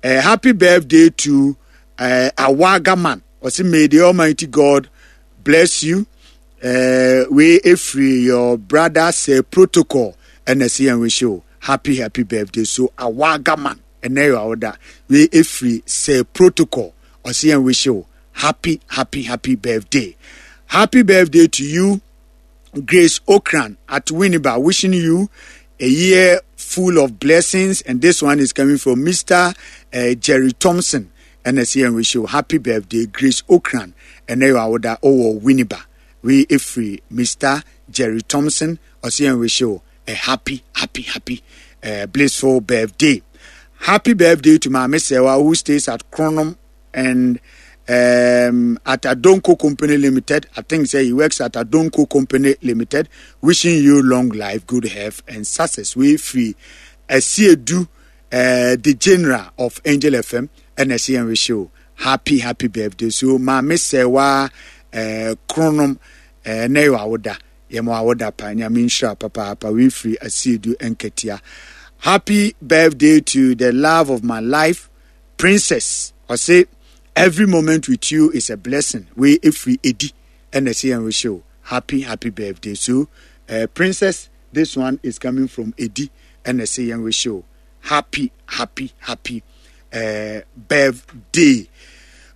A happy birthday to uh, Awaga man. Ɔse may the Almighty God bless you. Uh, wei ɛfiri your brother's uh, protocol ɛna ɛsɛ yɛn wish you happy, happy birthday. So Awaga man, ɛnɛ yɛ awoda. Wei ɛfiri sɛ protocol, ɔsɛ yɛn wish you happy, happy, happy birthday. Happy birthday to you, Grace Okran at Winneba, wishing you a year full of blessings. And this one is coming from Mister Uh, Jerry Thompson. And I say and wish you happy birthday, Grace Okran. And now I would oh Winneba. Wei ɛfiri Mister Jerry Thompson. I say and wish you a happy, happy, happy, uh, blissful birthday. Happy birthday to Mami Sewa, who stays at Kronum and um, at Adonko Company Limited. I think say he works at Adonko Company Limited. Wishing you long life, good health, and success. Wei firi Asiedu, uh, the general of Angel F M, and I wish you happy, happy birthday. So, Mami Sewa uh, Kronum, uh, Newa Oda. Yɛma awoda pa. Nyame nhyira papaapa. Wei firi Asiedu Nketia. Happy birthday to the love of my life, Princess. Ɔse every moment with you is a blessing. Wei efiri Edi ɛna ɛsɛ yɛn rehyɛ o. Happy happy birthday. So uh, Princess, this one is coming from Edi ɛna ɛsɛ yɛn rehyɛ o. Happy happy happy uh, birthday.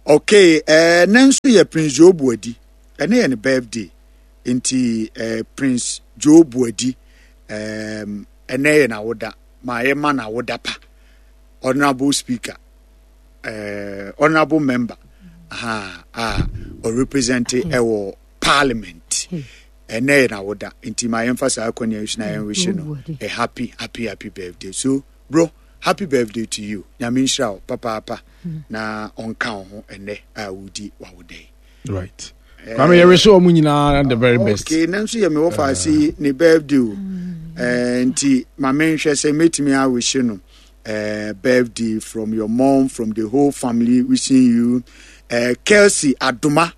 Okay, uh, ne nso yɛ Prince Joe Buadi. Ɛne yɛ ne birthday. Nti uh, Prince Joe Buadi um, ɛnɛ yɛ n'awoda. Ma yɛ ma n'awoda pa. Honorable Speaker, uh, honorable member, aha, a ɔrepresent ɛwɔ Parliament. Ɛnɛ yɛ n'awoda. Nti ma yɛmfa saa akɔnya yi so na yɛnwish no a happy happy happy birthday. So bro, happy birthday to you. Nyame nhyira wo papaapa na ɔnka wo ho ɛnɛ a wodi w'awoda yi. Right. Kwame, yɛwish wɔn nyinaa the very best. Okay, na nso yɛ me wɔfa ase ne birthday o. Eh, nti ma menhwɛ sɛ mɛtumi awish no eh, birthday from your mom, from the whole family wishing you eh, Kelsey Adoma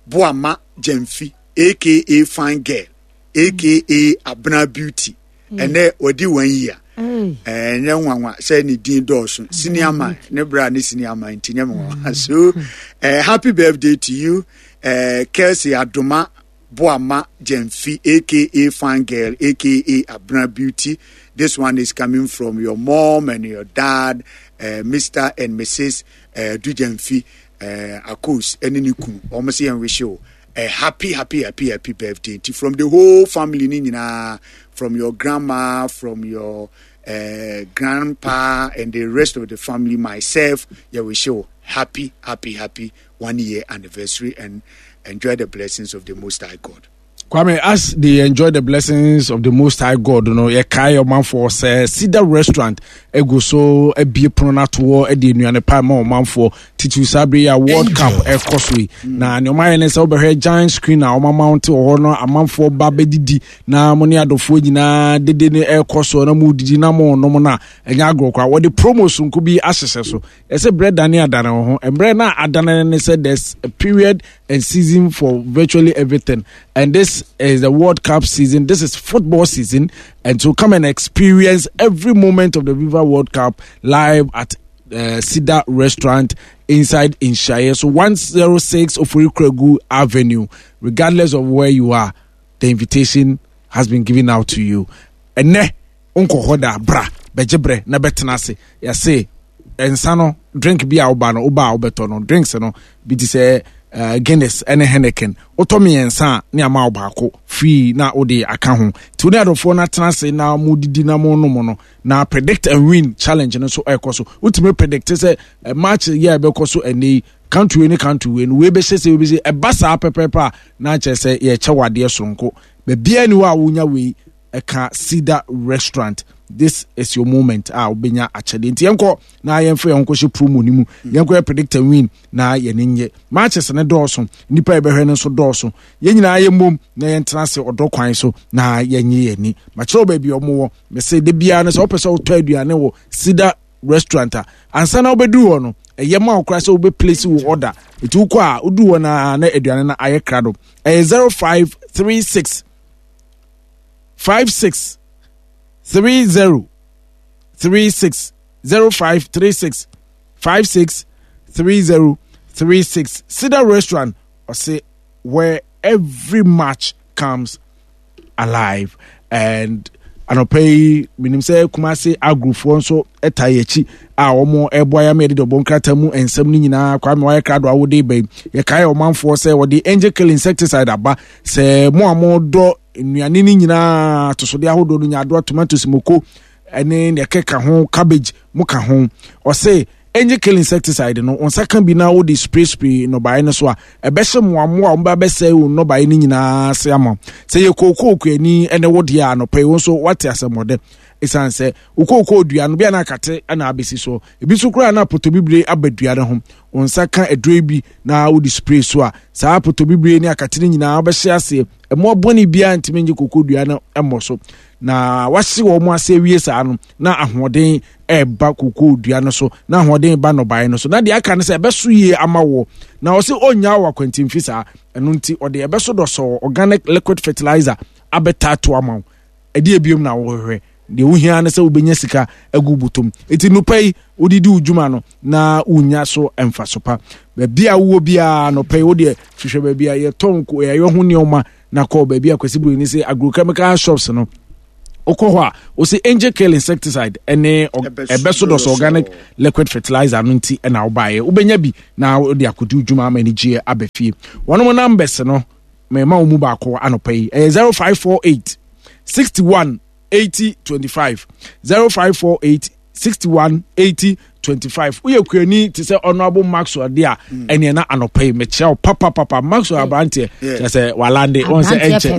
Boama Jamfi, aka Fine Girl, aka Abena Beauty. Ɛnɛ wɔdi one year. Ɛnyɛ nwanwa sɛ ne din dɔɔso. Senior man, ne bra ne senior man nti nyɛ nwanwa. So, eh, happy birthday to you, eh, Kelsey Adoma Boama Jamfi, aka Fine Girl, aka Abena Beauty. This one is coming from your mom and your dad, uh, Mister and Missus Uh, Dujamfi, uh, Akos, ɛne ne kunu. Wɔn sɛ yɛn wish you a happy, happy, happy, happy birthday. Nti from the whole family ni nyinaa, from your grandma, from your uh, grandpa, and the rest of the family, myself, yɛ wish you happy, happy, happy one year anniversary and enjoy the blessings of the Most High God. Kwame, as they enjoy the blessings of the Most High God, no, yɛkae ɔmanfoɔ sɛ Cedar Restaurant egu so abie pono no atoɔ de nnuane pa ma ɔmanfoɔ titiriw saa bere yi a World Cup ɛkɔ so yi. Na nea ɔmayɛ ne sɛ wobɛhwɛ giant screen a ɔma mount wɔ hɔ no, amanfoɔ ba bɛdidi na mo ne adɔfoɔ nyinaa dede ne ɛkɔ so na mo didi na mo nom no a ɛnyɛ agorɔ koraa. Wɔde promo sonko bi ahyehyɛ so. Ɛsɛ berɛ dane adane wo ho. Mmerɛ no a adane ne sɛ there's a period and season for virtually everything, and this is the World Cup season. This is football season, and so come and experience every moment of the FIFA World Cup live at uh, Cedar Restaurant inside Inshaye. So one zero six Ofori Kregu Avenue. Regardless of where you are, the invitation has been given out to you. Ene unkɔ hɔ da bra bɛgye brɛ na bɛtena ase. Yɛse nsa no drink bi a woba no woba a wobɛtɔ no drinks no bi te sɛ uh, Guinness ɛne Heineken wotɔ mmiɛnsa a ne ama wo baako free na wode aka ho. Nti wo ne adɔfoɔ no atena ase na modidi na monom no na predict and win challenge no nso ɛkɔ so. Wotumi predict sɛ eh, match yɛ a ɛbɛkɔ so ɛnɛ yi, country wei ne country wei no wei bɛhyɛ sɛ wei bɛhyɛ ɛba saa pɛpɛɛpɛ a na kyerɛ sɛ yɛkyɛ wɔ adeɛ soronko. Baabiara ni hɔ a wonya wei ɛka Cedar Restaurant. This is your moment a wobɛnya akyɛdeɛ. Nti yɛnkɔ na yɛmfa yɛn ho nkɔhyɛ promo no mu. Yɛnkɔ yɛ predict and win na yɛne nyɛ matches ne dɔɔso, nnipa yɛbɛhwɛ no nso dɔɔso. Yɛn nyinaa yɛmmom na yɛntena ase ɔdɔ kwan so na yɛnye yɛn ani. Makyerɛ wo baabi a ɔmo wɔ. Mese da biara no sɛ wopɛ sɛ wotɔ aduane wɔ Cedar Restaurant a, ansa na wobɛduru hɔ no ɛyɛ ma wo koraa sɛ wobɛ place wo order. Nti wokɔ a woduru hɔ no na aduane no ayɛ krado. Ɛyɛ zero five three six five six three zero three six zero five three six five six three zero three six. Cedar Restaurant, ɔse where every match comes alive. And anɔpa yi menim sɛ Kumase agrofoɔ nso ta yɛn akyi a wɔn ɛboa yɛn ama yɛde dɔbɔ nkrataa mu nsɛm no nyinaa. Kwame wayɛ krado a wode ba yi, yɛkae ɔmanfoɔ sɛ wɔde angel kill insecticide aba sɛ mo a modɔ nnuane no nyinaa atosodeɛ ahodoɔ no, nyaadoa, tomatoes, moko ɛne nea ɛkeka ho, cabbage mo ka ho. Ɔse angel kill insecticide no, wɔn nsa ka bi na wode spray spray nnɔbaeɛ no so a, ɛbɛhyɛ mmoamoa a wɔn ba bɛsɛe wo nnɔbaeɛ no nyinaa ase ama. Sɛ yɛ kookoo kuani ɛne wo deɛ a, anɔpa yi wo nso wate asɛmmɔdɛ. Ɛsiane sɛ wo kookoo dua no bi a na akate na abɛsi so, ebi nso koraa na potobibire aba dua no ho. Wo nsa ka aduro bi na wode spray so a, saa potobibire ne akate no nyinaa wobɛhyɛ aseɛ. Mmoa bɔne biara ntumi nye kookoo dua no mmɔ so. Na wahye wɔn ase awie saa no, na ahoɔden ɛreba kokoo dua no so, na ahoɔden ba nnɔbaeɛ no so, na deɛ aka no sɛ ɛbɛso yie ama wɔ. Na ɔse ɔnnya wɔ akwantimfi saa, ɛno nti ɔde ɛbɛso dɔsɔɔ organic liquid fertilizer abɛtaato ama wo. Ɛdeɛ biom na wohwehwɛ? Deɛ wohia ne sɛ wobɛnya sika agu bɔtɔm. Ɛti nopɛ yi wode di wo dwuma no na wonya so mfaso pa. Baabi a wowɔ biara nɔpɛ yi wodeɛ hwehwɛ baabi a yɛtɔn yɛyɛ ho nneɛma na kɔ baabi a Kwasi Buroni sɛ agrochemical shops no. Wokɔ hɔ a wosɛ Angel Kill insecticide ɛne ɛbɛso dɔsɔ organic liquid fertilizer no nti ɛna wobaeɛ. Wobɛnya bi na wode akɔdi wo dwuma ama anigyeɛ aba fie. Wɔnom numbers no mɛma wo mu baako anɔpa yi ɛyɛ zero five four eight sixty one eighty twenty five, zero five four eight sixty one eighty twenty five. Woyɛ kuani te sɛ Honorable Maxwell de a, ɛneɛ na anɔpa yi mekyerɛ wo papapapa. Maxwell aberanteɛ kyerɛ sɛ walande wɔn sɛ ɛnkyɛ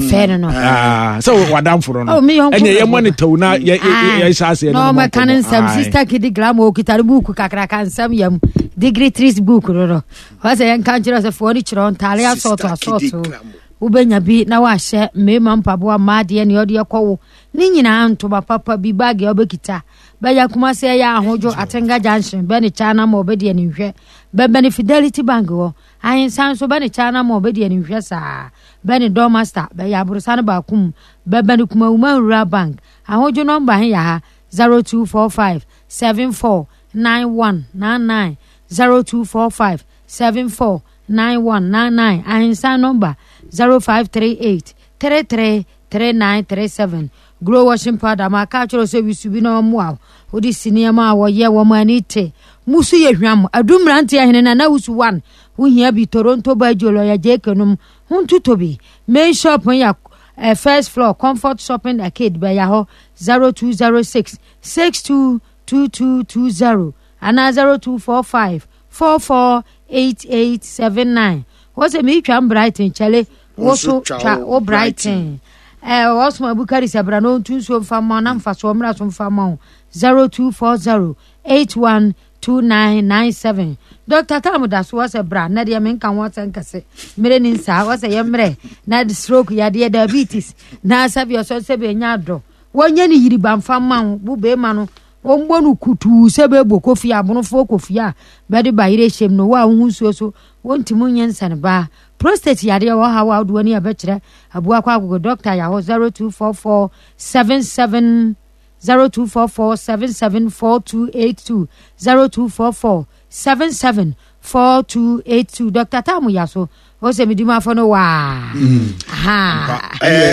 sɛ wadamfo no no ɛneɛ yɛmmɔ ne tɛw na yɛhyɛ aseɛ no ɔmɛka ne nsɛm. Sister Kidi Glamour okita ne buuku kakraka nsɛm yam degree three book no no wɔ sɛ yɛnka nkyerɛ sɛ foɔ no kyerɛ ntaale asɔɔto asɔɔto wobɛnya bi na wahyɛ mmarima mpaboa, mmaa deɛ ne ɔde ɛkɔ wo ne nyinaa ntoma papa bi baage a wobɛkita bɛyɛ Kumase ɛyɛ Ahodwo Atenga Junction bɛne China ma ɔbɛdi animhwɛ bɛbɛne Fidelity Bank hɔ ahensan nso bɛne China ma ɔbɛdi animhwɛ saa bɛne Dormaster bɛyɛ aborosa no baako mu bɛbɛne Kumawuma Rural Bank. Ahodwo nɔmba he yɛ ha zero two four five seven four nine one nine nine, zero two four five seven four nine one nine nine. Ahensan nɔmba zero five three eight three three three nine three seven. Glow washing powder ma aka kyerɛ sɛ wisu bi na ɔmmoa wo wode si nneɛma a wɔyɛ wɔn ani te musu yɛ hwam adu mmeranteɛ hene na na wusu one wohia bi Toronto Bajo lɔya J K nom ho ntotɔ bi. Main shop yɛ uh, first floor, Comfort Shopping Arcade bɛyɛ hɔ zero two zero six six two two two two zero anaa zero two four five four four eight eight seven nine. Wọ́n sɛ mi twa Brighton kyɛlɛ wo so twa wo Brighton ɛɛ wɔsoma Bukari sɛ bra na ɔntu nsuo nfa ma na nfa so ɔmra so nfa ma wo zero two four zero eight one two nine nine seven. Doctor Tam da so wɔsɛ bra na deɛ menka ho asɛm kɛse mmerɛ ni nsaa wɔsɛ yɛ mmerɛ na stroke yadeɛ, diabetes na sɛbi ɔsɔ sɛbi ɛnya adɔ wɔnyɛ ne yiriba nfa ma wo wo bɛrima no wɔmbɔ no kutuu sɛ bɛbɔ kofi abonofoɔ kofi a bɛde ba yerɛ hyɛm no wo a wohu nsuo so wɔntumi nyɛ nsane baa prostate yadeɛ wɔ ha wo a wode w'ani a bɛkyerɛ aboa kɔ agogo doctor yɛ hɔ zero two four four seven seven zero two four four seven seven four two eight two, zero two four four seven seven four two eight two. Doctor Tam yɛ so o sɛ medi mu afɔ no waa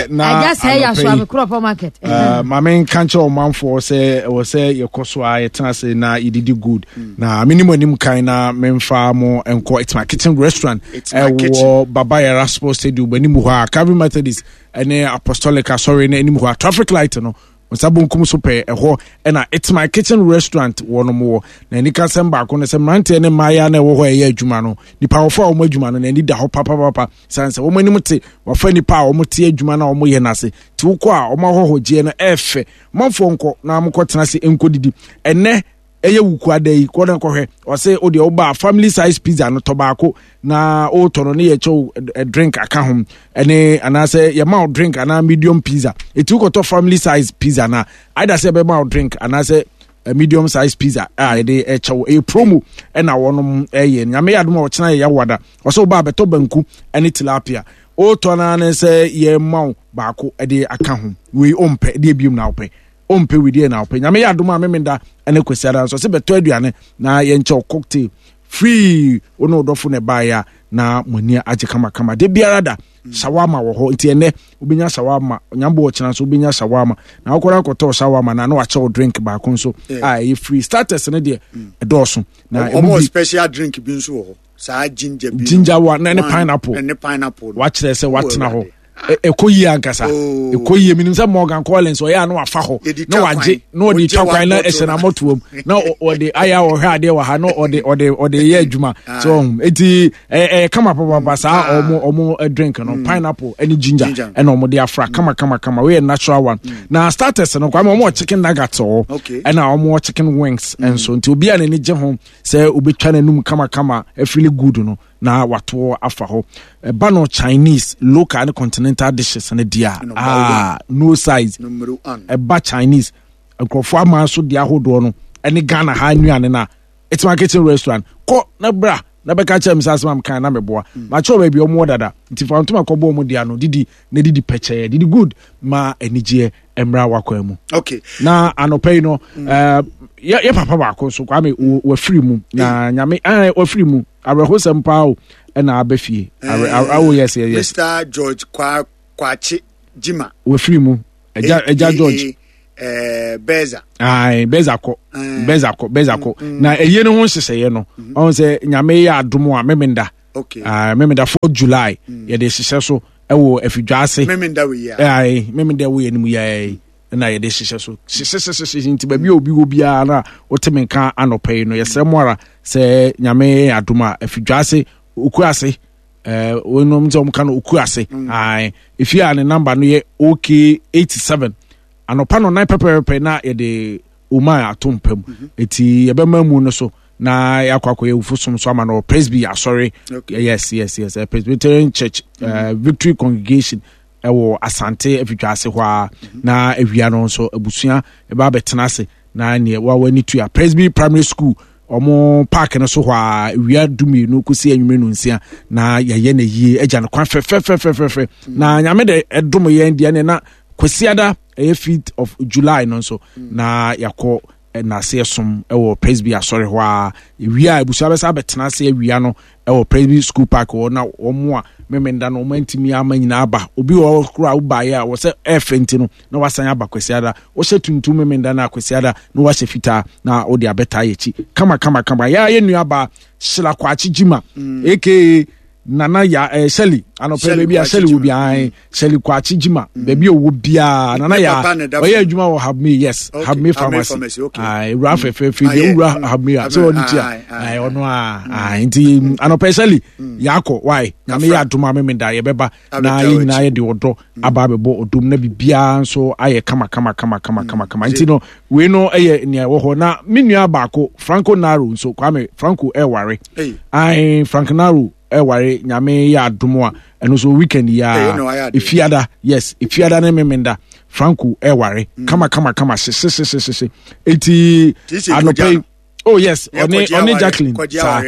agya sɛ yɛ so a mekorɔpɔ market. Maame nka nkyerɛ ɔmanfoɔ sɛ ɛwɔ sɛ yɛkɔ so a yɛtena ase na yɛdidi good na menim anim kan na memfa mo nkɔ It's My Kitchen Restaurant ɛwɔ Baba Yara Sports Stadium anim hɔ a Calvin Methodist ɛne Apostolic asɔre no anim hɔ a traffic light no nsa bonkum so pɛɛ ɛhɔ ɛna It's My Kitchen Restaurant wɔ no wɔ. Na anika sɛm baako no sɛ mmeranteɛ ne mmaayea na ɛwɔ hɔ a ɛyɛ adwuma no, nipa wɔfo a wɔn adwuma no n'ani da hɔ papapapa san sɛ wɔn anim te wɔfa nipa a wɔn te adwuma no a wɔyɛ n'ase te wokɔ a wɔn ahɔhɔgyeɛ no ɛɛfɛ. Manfoɔ nkɔ na wɔkɔ tena ase nkɔ didi. Ɛnɛ ɛyɛ wukuada yi, kɔ na kɔhwɛ. Ɔsɛ o deɛ ɔba family size pizza no tɔ baako na ɔretɔ no ne yɛ kyɛw drink aka ho ɛne anaasɛ yɛma wo drink anaa medium pizza. Eti wokɔtɔ family size pizza na either sɛ ɛbɛma wo drink anaasɛ medium size pizza a yɛde ɛkyɛw. Ɛyɛ promo ɛna wɔnom ɛyɛ. Nyame yɛ adom a ɔkyena yɛ yawada. Ɔsɛ ɔba abɛtɔ banku ɛne tilapia, ɔretɔ naa ne sɛ yɛma wo baako ɛde aka ho. Wei ɔmpɛ deɛ biom na wopɛ ɔmpɛ wedeɛ na wopɛ. Nyame yɛ adom a Memenda ɛne Kwasiada nso ɔsɛ bɛtɔ aduane na yɛnkyɛw cocktail free. Wo ne wodɔfo na ɛbaeɛ a na mo ani agye kamakama. De biara da shawarma wɔ hɔ nti ɛnɛ wobɛnya shawarma. Nyambo ɔkyena nso wobɛnya shawarma na wokɔrɔ akɔtɔ shawarma na na wakyɛ wo drink baako nso a ɛyɛ free. Starters no deɛ ɛdɔɔso na ɔmo special drink bi nso wɔ hɔ saa ginger bi. Ginger wa na ne pineapple. Ne pineapple. Wakyerɛ sɛ watena hɔ ɛkɔ yie ankasa, ɛkɔ yie. Menim sɛ Morgan Collins ɔyɛ a na wafa hɔ na wagye na ɔde twa kwan na ɛhyɛ n'amɔtoam na ɔde ayɛ a ɔhwɛ adeɛ wɔ ha na ɔde ɔde ɔde yɛ adwuma so ɔhun eti ɛyɛ ɛyɛ kama papapa saa. Ɔmo ɔmo drink no pineapple ɛne ginger ɛna ɔmo de afra kama kama kama. Wɔyɛ natural one. Na starters no kwame, ɔmo wɔ chicken nuggets wɔ ɛna ɔmo wɔ chicken wings nso nti obi a n'ani gye ho sɛ obetwa n'anum kama kama ɛfili good no. na watoɔ afa hɔ. Ɛba no Chinese, local ne continental dishes no deɛ a, ah, no size. Ɛba Chinese, nkurɔfoɔ aman so deɛ ahodoɔ no ɛne Ghana ha nnuane no a, It's My Kitchen Restaurant. Kɔ na bra na bɛka kyerɛ me sɛ asɛm a mekae na meboa. Mm. Makyerɛ baabi ɔmo wɔ dada. Nti fa ntoma kɔbɔ ɔmo dea no didi na didi pɛkyɛɛ. Didi good ma anigyeɛ mmra wakwan mu. Okay. Na anɔpa yi no, mm. uh, yɛ, yɛ papa baako nso Kwame wafiri mu na mm. Nyame eh, wafiri mu awerɛhosɛm paa o ɛna aba fie. Eh, oh yes, yes, yes. Mister George Kwa Kwakye Jima. Wafiri mu. Ɛgya ɛgya George. Eh, Beza. Ayi Beza kɔ. Eh. Beza kɔ Beza kɔ. Mm, mm. Na ɛyie no ho nhyehyɛeɛ no. Mm-hmm. Ɔn sɛ Nyame yɛ adom a memenda. Okay. Ah, memenda fourth July. Mm. Yɛde hyehyɛ so ɛwɔ afidwa ase. Memenda wɔ yia. Ayi memenda wɔ yɛ no mu yɛ. Na yɛde hyehyɛ so hyehyɛhyehyɛ nti baabi a obi wɔ biara na wote me nka anɔpa yi no yɛsrɛ mo ara sɛ Nyame yɛ adom a afidwa ase okura ase ɛɛ eh, wɔnom sɛ wɔn ka no oku ase mm. ae efie a ne namba no yɛ ok eighty seven anɔpa no nan pɛpɛɛpɛ na yɛde oma ato mpa mu mhm. eti yɛbɛma mu no so na yɛakɔ akɔyɛ awufo som so ama no Presby asɔre. Yes, yes, yes, eh, Presbyterian Church, mm -hmm. uh, Victory Congregation ɛwɔ Asante afitwa ase hɔ a mhm. Na awia no nso abusua ɛba abɛtena ase na neɛ wawa ani tua Presby Primary School ɔmo park no so hɔ a awia du mmienu kɔsi anwummerɛ no nsia na yɛyɛ no yie agya no kwan fɛfɛfɛfɛfɛ. Na Nyame de ɛdom yɛn deɛ ne na Kwasiada ɛyɛ fifth of July no nso na yɛakɔ nnaseɛ som wɔ Presby asɔre hɔ a awia a abusua bɛsa abɛtena ase awia no wɔ Presby School Park hɔ na wɔn a Memenda no wɔn antumi ama nyinaa aba. Obi wɔ hɔ koraa a wobaeɛ a wɔ sɛ ɛɛfɛ nti no na wasan aba Kwasiada. Wohyɛ tuntum Memenda no a Kwasiada na wahyɛ fitaa na wode abɛtaa yɛ akyi kama kama kama. Yɛa yɛ nuabaa Sheila Kwakye Gyima mm. aka Nana ya eh, Shelly anɔpɛ baabi a Shelly wɔ biara eh, Shelly Kwakye Gyima mm. baabi a ɔwɔ biara Nana ya ɔyɛ adwuma wɔ Habme, yes, Habme Pharmacy, ewura mm. fɛfɛɛfɛ bi ewura mm. Habme a sɛ ɔno tia ɔno a nti anɔpɛ Shelly yakɔ wae Nyame yɛ adom a memeda yɛbɛba na yɛn nyinaa yɛde ɔdɔ aba abɛbɔ ɔdom na biribiara nso ayɛ kama kama kama kama kama kama. Nti no wei no yɛ nea ɛwɔ hɔ. Na me nua baako Franco Naro nso, Kwame Franco ɛware ae, Frank Naro ɛware Nyame yɛ adom a ɛno nso weekend yi a efiada, yes, efiada ne memenda Franco ɛware mm. kama kama kama hyehyehyehyehye. Eti anɔpɛ yi, oh yes, ɔne ɔne Jacqueline saa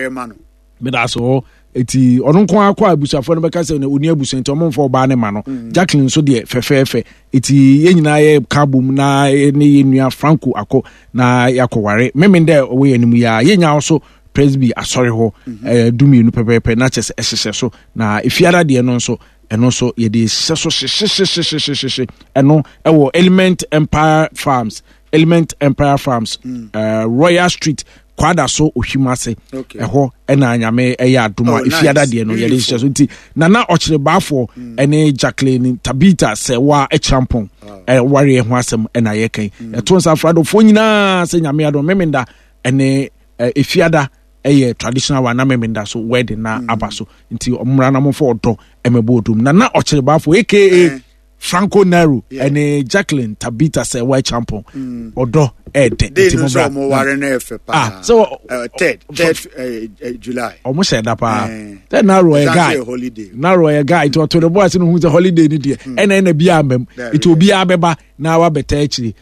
meda so hɔ. Eti ɔno nko ara kɔ a abusuafoɔ no bɛka sɛ ɔni abusua nti ɔmo nfa ɔbaa ne ma no mm. Jacqueline nso deɛ fɛfɛɛfɛ. Eti yɛn nyinaa yɛ ka bom na ne yɛn nua Franco akɔ na yɛakɔware memen dɛ ɔwɔ yɛn anim yi a yɛn nyinaa nso Presby asɔre hɔ mhm. ɛɛ du mmienu pɛpɛɛpɛ na kyɛ sɛ ɛhyehyɛ so. Na efiara deɛ no nso ɛno nso yɛde hyehyɛ so hyehyehyehyehyehyehye ɛno ɛwɔ Element Empire Farms, Element Empire Farms, mm. uh, Royal Street, Kwada so Ohwim ase ɛhɔ ɛna Nyame ɛyɛ adom a oh, efiada deɛ no yɛde hyehyɛ so. Nti Nana Ɔkyerɛ Baafoɔ mm. ɛne Jacqueline Tabita sɛ wa ɛkyerɛmpɔn ɛwareɛ ho asɛm ɛna yɛkɛn mm. Ɛto nsa afradofoɔ nyinaa sɛ Nyame adom memenda ɛne efiada ɛyɛ traditional one na memenda so wedding na mm. aba so. Nti ɔmmra na momfa ɔdɔ ɛmɛbɔ odom Nana Ɔkyerɛ Baafoɔ aka eh. Franco Nero ɛne Jacqueline Tabita sɛ wa champon ɔdɔ ɛɛdɛ. Nti mo bra ɔmo ware no ɛfɛ paa. Ah, so third third July ɔmo hyɛ da paa. Third Nero ɔyɛ guy, Nero ɔyɛ guy nti ɔto ne bo ase no hu sɛ holiday ni deɛ ɛna ɛna bi amam nti obiara bɛba na wabɛta akyiri.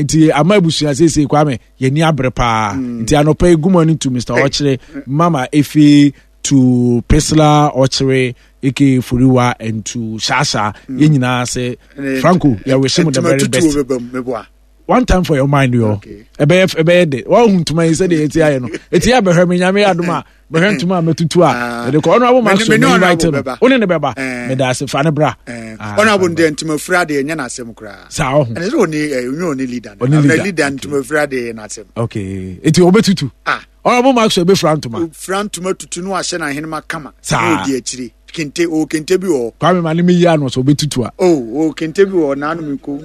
Nti ama abusua seesei Kwame yɛni abere paa. Nti anɔpa yi good morning to Mister Ɔkyere, Mama Efe, to Priscilla Ɔkyere aka Foriwa and to Shasha mm. Yɛn nyinaa sɛ Franco yɛ wish mu the very best. One time for your mind yɔ ɛbɛyɛ ɛbɛyɛ de wɔn ntoma yi sɛdeɛ yɛti ayɛ no eti yɛ abɛhwɛ mi Nyame yɛ adum a bɛhwɛ ntoma a mɛtutu a ah. Ɛde kɔ ɔno abo ma so mɛ invite no ɔne ne bɛba mɛda eh. ase fa ne bra. Eh. Ɔno abo deɛ ntoma fira deɛ nyɛ n'asɛm koraa. Saa ɔho ɛnɛ sɛ ɔne ɔnyɛ ɔne leader no ɔne leader ntoma fira deɛ yɛ n'asɛm. Okay, eti ɔbɛtutu. Ah, Ɔno Maxwell bɛfira ntoma. Fira ntoma tutu no ahyɛ n'ahenema kama. Saa. Na ɔdi akyire. Kente o kente bi wɔ hɔ. Kwame ma ne mi yi ano sɛ ɔbɛtutu a. O o kente bi wɔ hɔ n'ano mi ko.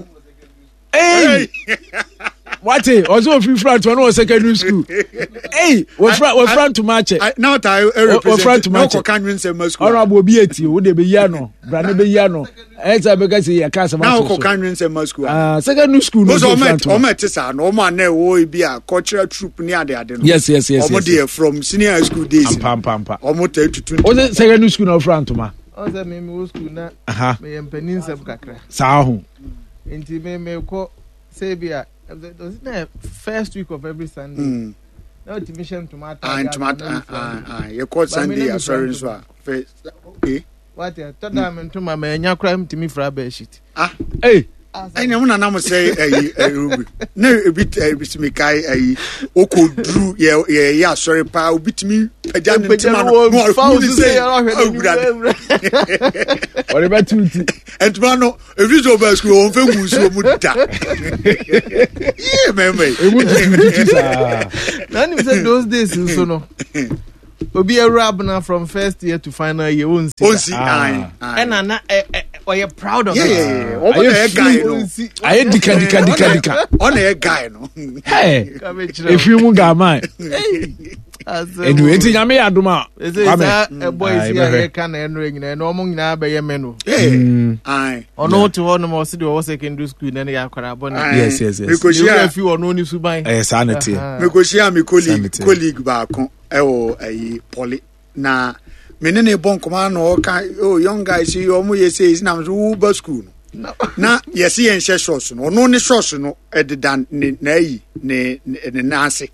Hey! Wate ɔsɛ ofiri fura ntoma no wɔ secondary school. Ei wɔfura wɔfura ntoma akyɛ. Na ɔta wɔfura ntoma akyɛ. Ɔkɔ kanwi nsɛm ma school. Ɔno abo obi eti o de bɛyi ano bra ne bɛyi ano ɛyɛ sɛ bɛka sɛ yɛ ka asɛm ato so. Na ɔkɔ kanwi nsɛm ma school. Ah secondary school no ɔsɛ fura ntoma. Ɔmɔ ɛte saa no ɔmɔ anɛ wɔ ebi a cultural troupe ne ade ade no. Yes yes yes. Ɔmɔ deɛ from senior high school days. Ampa ampa ampa. Ɔmɔ tɛ tutu ntoma. Ɔsɛ secondary school na ɔfura ntoma. Ɔsɛ mi mi wɔ school na. Meyɛ mpanin nsɛm kakra. Saa ho. Nti mi mi kɔ sɛ ebi a na first week of every Sunday. Mm. Na otumi hyɛ ntoma ataade. Ntoma ataade yɛkɔ Sunday asɔre nso a fɛ okay. Wate tɔ da mi ntoma mɛ enya kora ntumi fira bed sheet. Ah. Hey. Ɛnna mo nana mo sɛ ɛyi ɛyi na ebi ebi si mi ka ɛyi okɔ duru yɛ yɛ yɛ asɔre paa obi tumi pagya ne ntoma no na ɔhu ne sɛ ɔwura ɔde bɛ tu ti. Ntoma no efi sɛ ɔba sukuu wɔn fɛ ngu nsuo mu da yie mɛmɛ yi. Emu tutu tutu saa. Na nim sɛ those days nso no obi awura abena from first year to final year onsi. Onsi ayi. Ɛna na ɛ ɛ ɔyɛ proud of it. Ɔmo na yɛ guy no. Ayɛ dika dika dika dika. Ɔna yɛ guy no. Hey, efiri mu gaaman. Anyway, nti nyame yɛ adom a. Kwame. Ɛbɔ esi a yɛka na ɛno nyinaa ɛno ɔmo nyinaa bɛyɛ mɛ no. Ɔno te hɔ nom ɔsi de ɔwɔ secondary school na ne yɛ akwara abɔ ne. Yes yes yes. Mekohyia fi ɔno ne suban. Ɛyɛ saa na teɛ. Mekohyia me colleague colleague baako ɛwɔ ɛyi pɔli na me ne ne bɔ nkɔmɔ na ɔka oh young guys yi ɔmo yɛ sɛ esi na so wo ba school no na yɛsi yɛn hyɛ shorts no ɔno ne shorts no ɛdeda ne n'ayi ne ne nan ase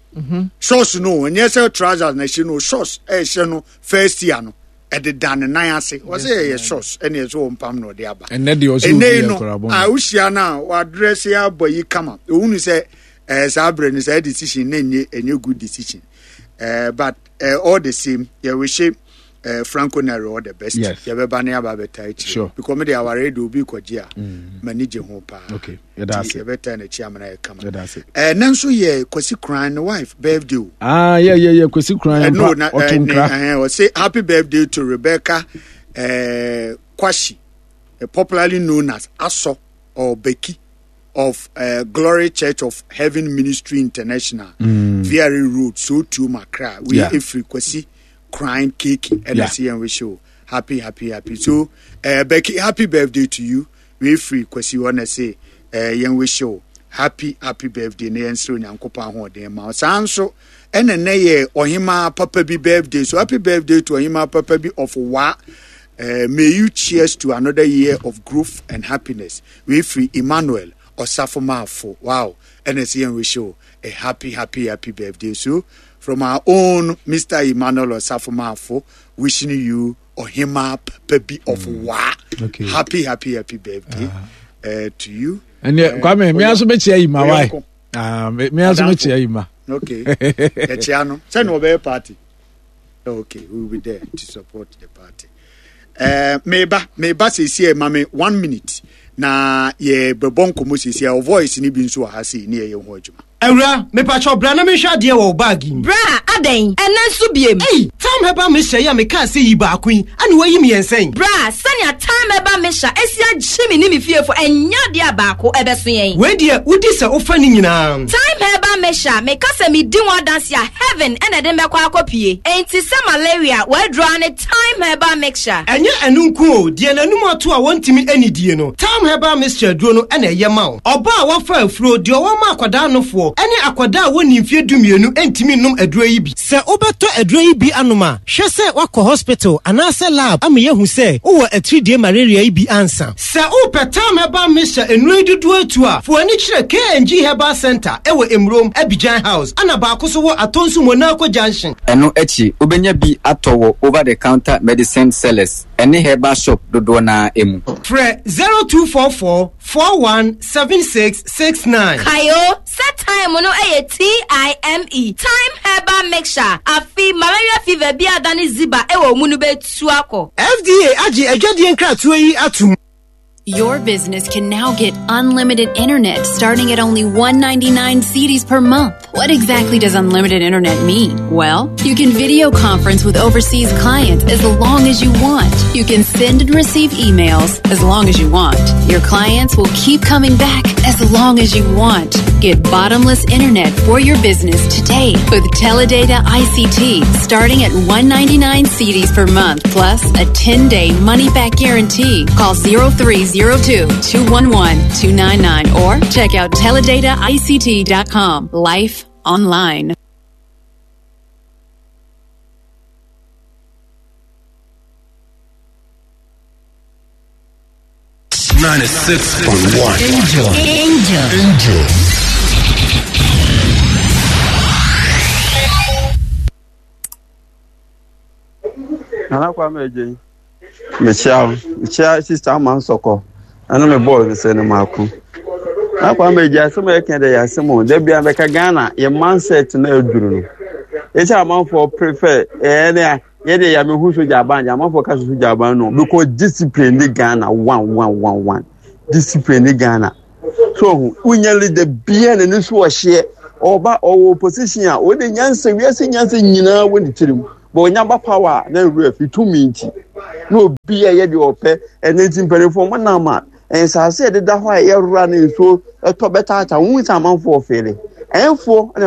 shorts no ɛnyɛ sɛ trousers na ɛhyɛ no shorts ɛhyɛ no first year no ɛdeda ne nan ase wɔsɛ yɛyɛ shorts ɛna ɛsɛ wɔn pam na ɔde aba ɛnɛ deɛ ɔsɛ obi yɛ kora bɔ a wohyia no a wadrɛse abɔ yi kama ohunu sɛ ɛɛ saa abirɛ no saa decision na enye enye good decision ɛɛ but ɛɛ all the same yɛrehyɛ ɛɛ Franco Nero all the best yes yɛbɛba ne aba abɛta akyire sure because me de aware de obi kɔgye a m'ani gye ho paa okay yɛda ase yɛbɛta n'akyi amena yɛ kama yɛda ase ɛɛ ne nso yɛ Kwasi Kran ne wife birthday o. Ah yeah yeah yeah Kwasi Kran mpa ɔto nkra ɛɛ ɔse happy birthday to Rebecca ɛɛ Kwashi popularly known as Aso or Becky of uh, Glory Church of Heaven Ministry International, mm. V R A Road, Sotuom Accra. We yeah. Efri Kwasi Crime Cake and yeah. see and wish you happy, happy, happy. So, uh, Becky, happy birthday to you. We free Kwasi wanna say, uh, yen wish you happy, happy birthday. Ne yen nyankopa ho den ma. Sanso ene ne ye ohima papa bi birthday. So happy birthday to Ohima Papa bi of Wa. Uh, may you cheers to another year of growth and happiness. We free Emmanuel Osafomafo. Wow. N S E wish you a happy, happy, happy birthday. So, from our own Mister Emmanuel Osafomafo, wishing you Ohima Pebi of mm. Wa. Okay. Happy, happy, happy birthday uh-huh. uh, to you. And yeah, Kwame, me also meet you, my wife. Ah, me also meet you, ma. Okay. Echiano. Send over party. Okay, we will be there to support the party. Uh, meba meba sisi mame one minute na ye bebɔ nkɔmɔ sisi a voice ni bi nso wɔ ha sei ne yɛyɛ ho adwuma. Awura, mepakyɛw bra na menhwɛ adeɛ wɔ wo baage mu. Bra, adɛn? Ɛnnɛ nso biem. Ei, Tam Herbal Mixture yi a mekaa sɛ yi baako yi, ana woayi mmiɛnsa yi? Bra, sɛnea Tam Herbal Mixture asi agye me ne me fiefo, ɛnyɛ adeɛ a baako ɛbɛso yɛn. Wei deɛ, wodi sɛ wofa ne nyinaa. Tam Herbal Mixture, meka sɛ medi ho adanse a, heaven ɛna ɛde me bɛkɔ akɔpue. Enti sɛ malaria, w'aduro ara ne Thyme Herbal Mixture. Ɛnyɛ ɛno nko o, deɛ n'anum ato a wɔntumi nnidie no, Thyme Herbal Mixture aduro no na ɛyɛ ma wo. Ɔbaa a wafa afuro, deɛ ɔwɔ ma akwadaa nofoɔ, ne akwadaa a wɔnni mfeɛ dumienu ntumi nnom aduro yi bi. Sɛ wobɛtɔ aduro yi bi anom a, hwɛ sɛ woakɔ hospital anaasɛ lab ama yɛahu sɛ wowɔ atiridie malaria yi bi ansa. Sɛ wopɛ Thyme Herbal Mixture nnuro yi dodoɔ atu a, fa w'ani kyerɛ K and G Herbal Centre wɔ Emurom, Abidjan House, ɛna baako nso wɔ Atonsu Monaco Junction. Ɛno akyi, wobɛnya bi atɔ wɔ over-the-counter medicine sellers ne herbal shop dodoɔ no ara mu. Frɛ zero two four four four one seven six six nine. Kae o, sɛ thyme no yɛ T I M E, Thyme Herbal Mixture. Afei malaria fever bi a adane ziba wɔ wo mu no bɛtu akɔ. F D A agye adwadie nkratoɔ yi atom. Your business can now get unlimited internet starting at only one ninety-nine cedis per month. What exactly does unlimited internet mean? Well, you can video conference with overseas clients as long as you want. You can send and receive emails as long as you want. Your clients will keep coming back as long as you want. Get bottomless internet for your business today with Teledata I C T starting at one ninety-nine cedis per month plus a ten-day money-back guarantee. Call zero three zero two, two one one, two nine nine or check out teledata I C T dot com. Life online. ninety-six point one. Angel. Angel. Angel. Nana Kwame Eje. Michelle, Michelle sister man soko. Ana me boy me say no mako. Nana Kwame Eje asem e kan de asem o. Da bia beka Ghana ye mindset na aduru no. Eche amanfo prefer eh na ye de ya me hu soja ban, ya amanfo ka soja ban no because discipline ni Ghana one one one one. Discipline ni Ghana. So unya leader bia na ne so ohye oba owo opposition a wo de nyansa wiase nyansa nyina wo ne tirim. But onyaba power na ref tumi nti na obi a ye de ope ene nti mpanifo mo na ma ensase de da ho a ye rura na nsuo eto betata hu nsa amanfo ofele enfo na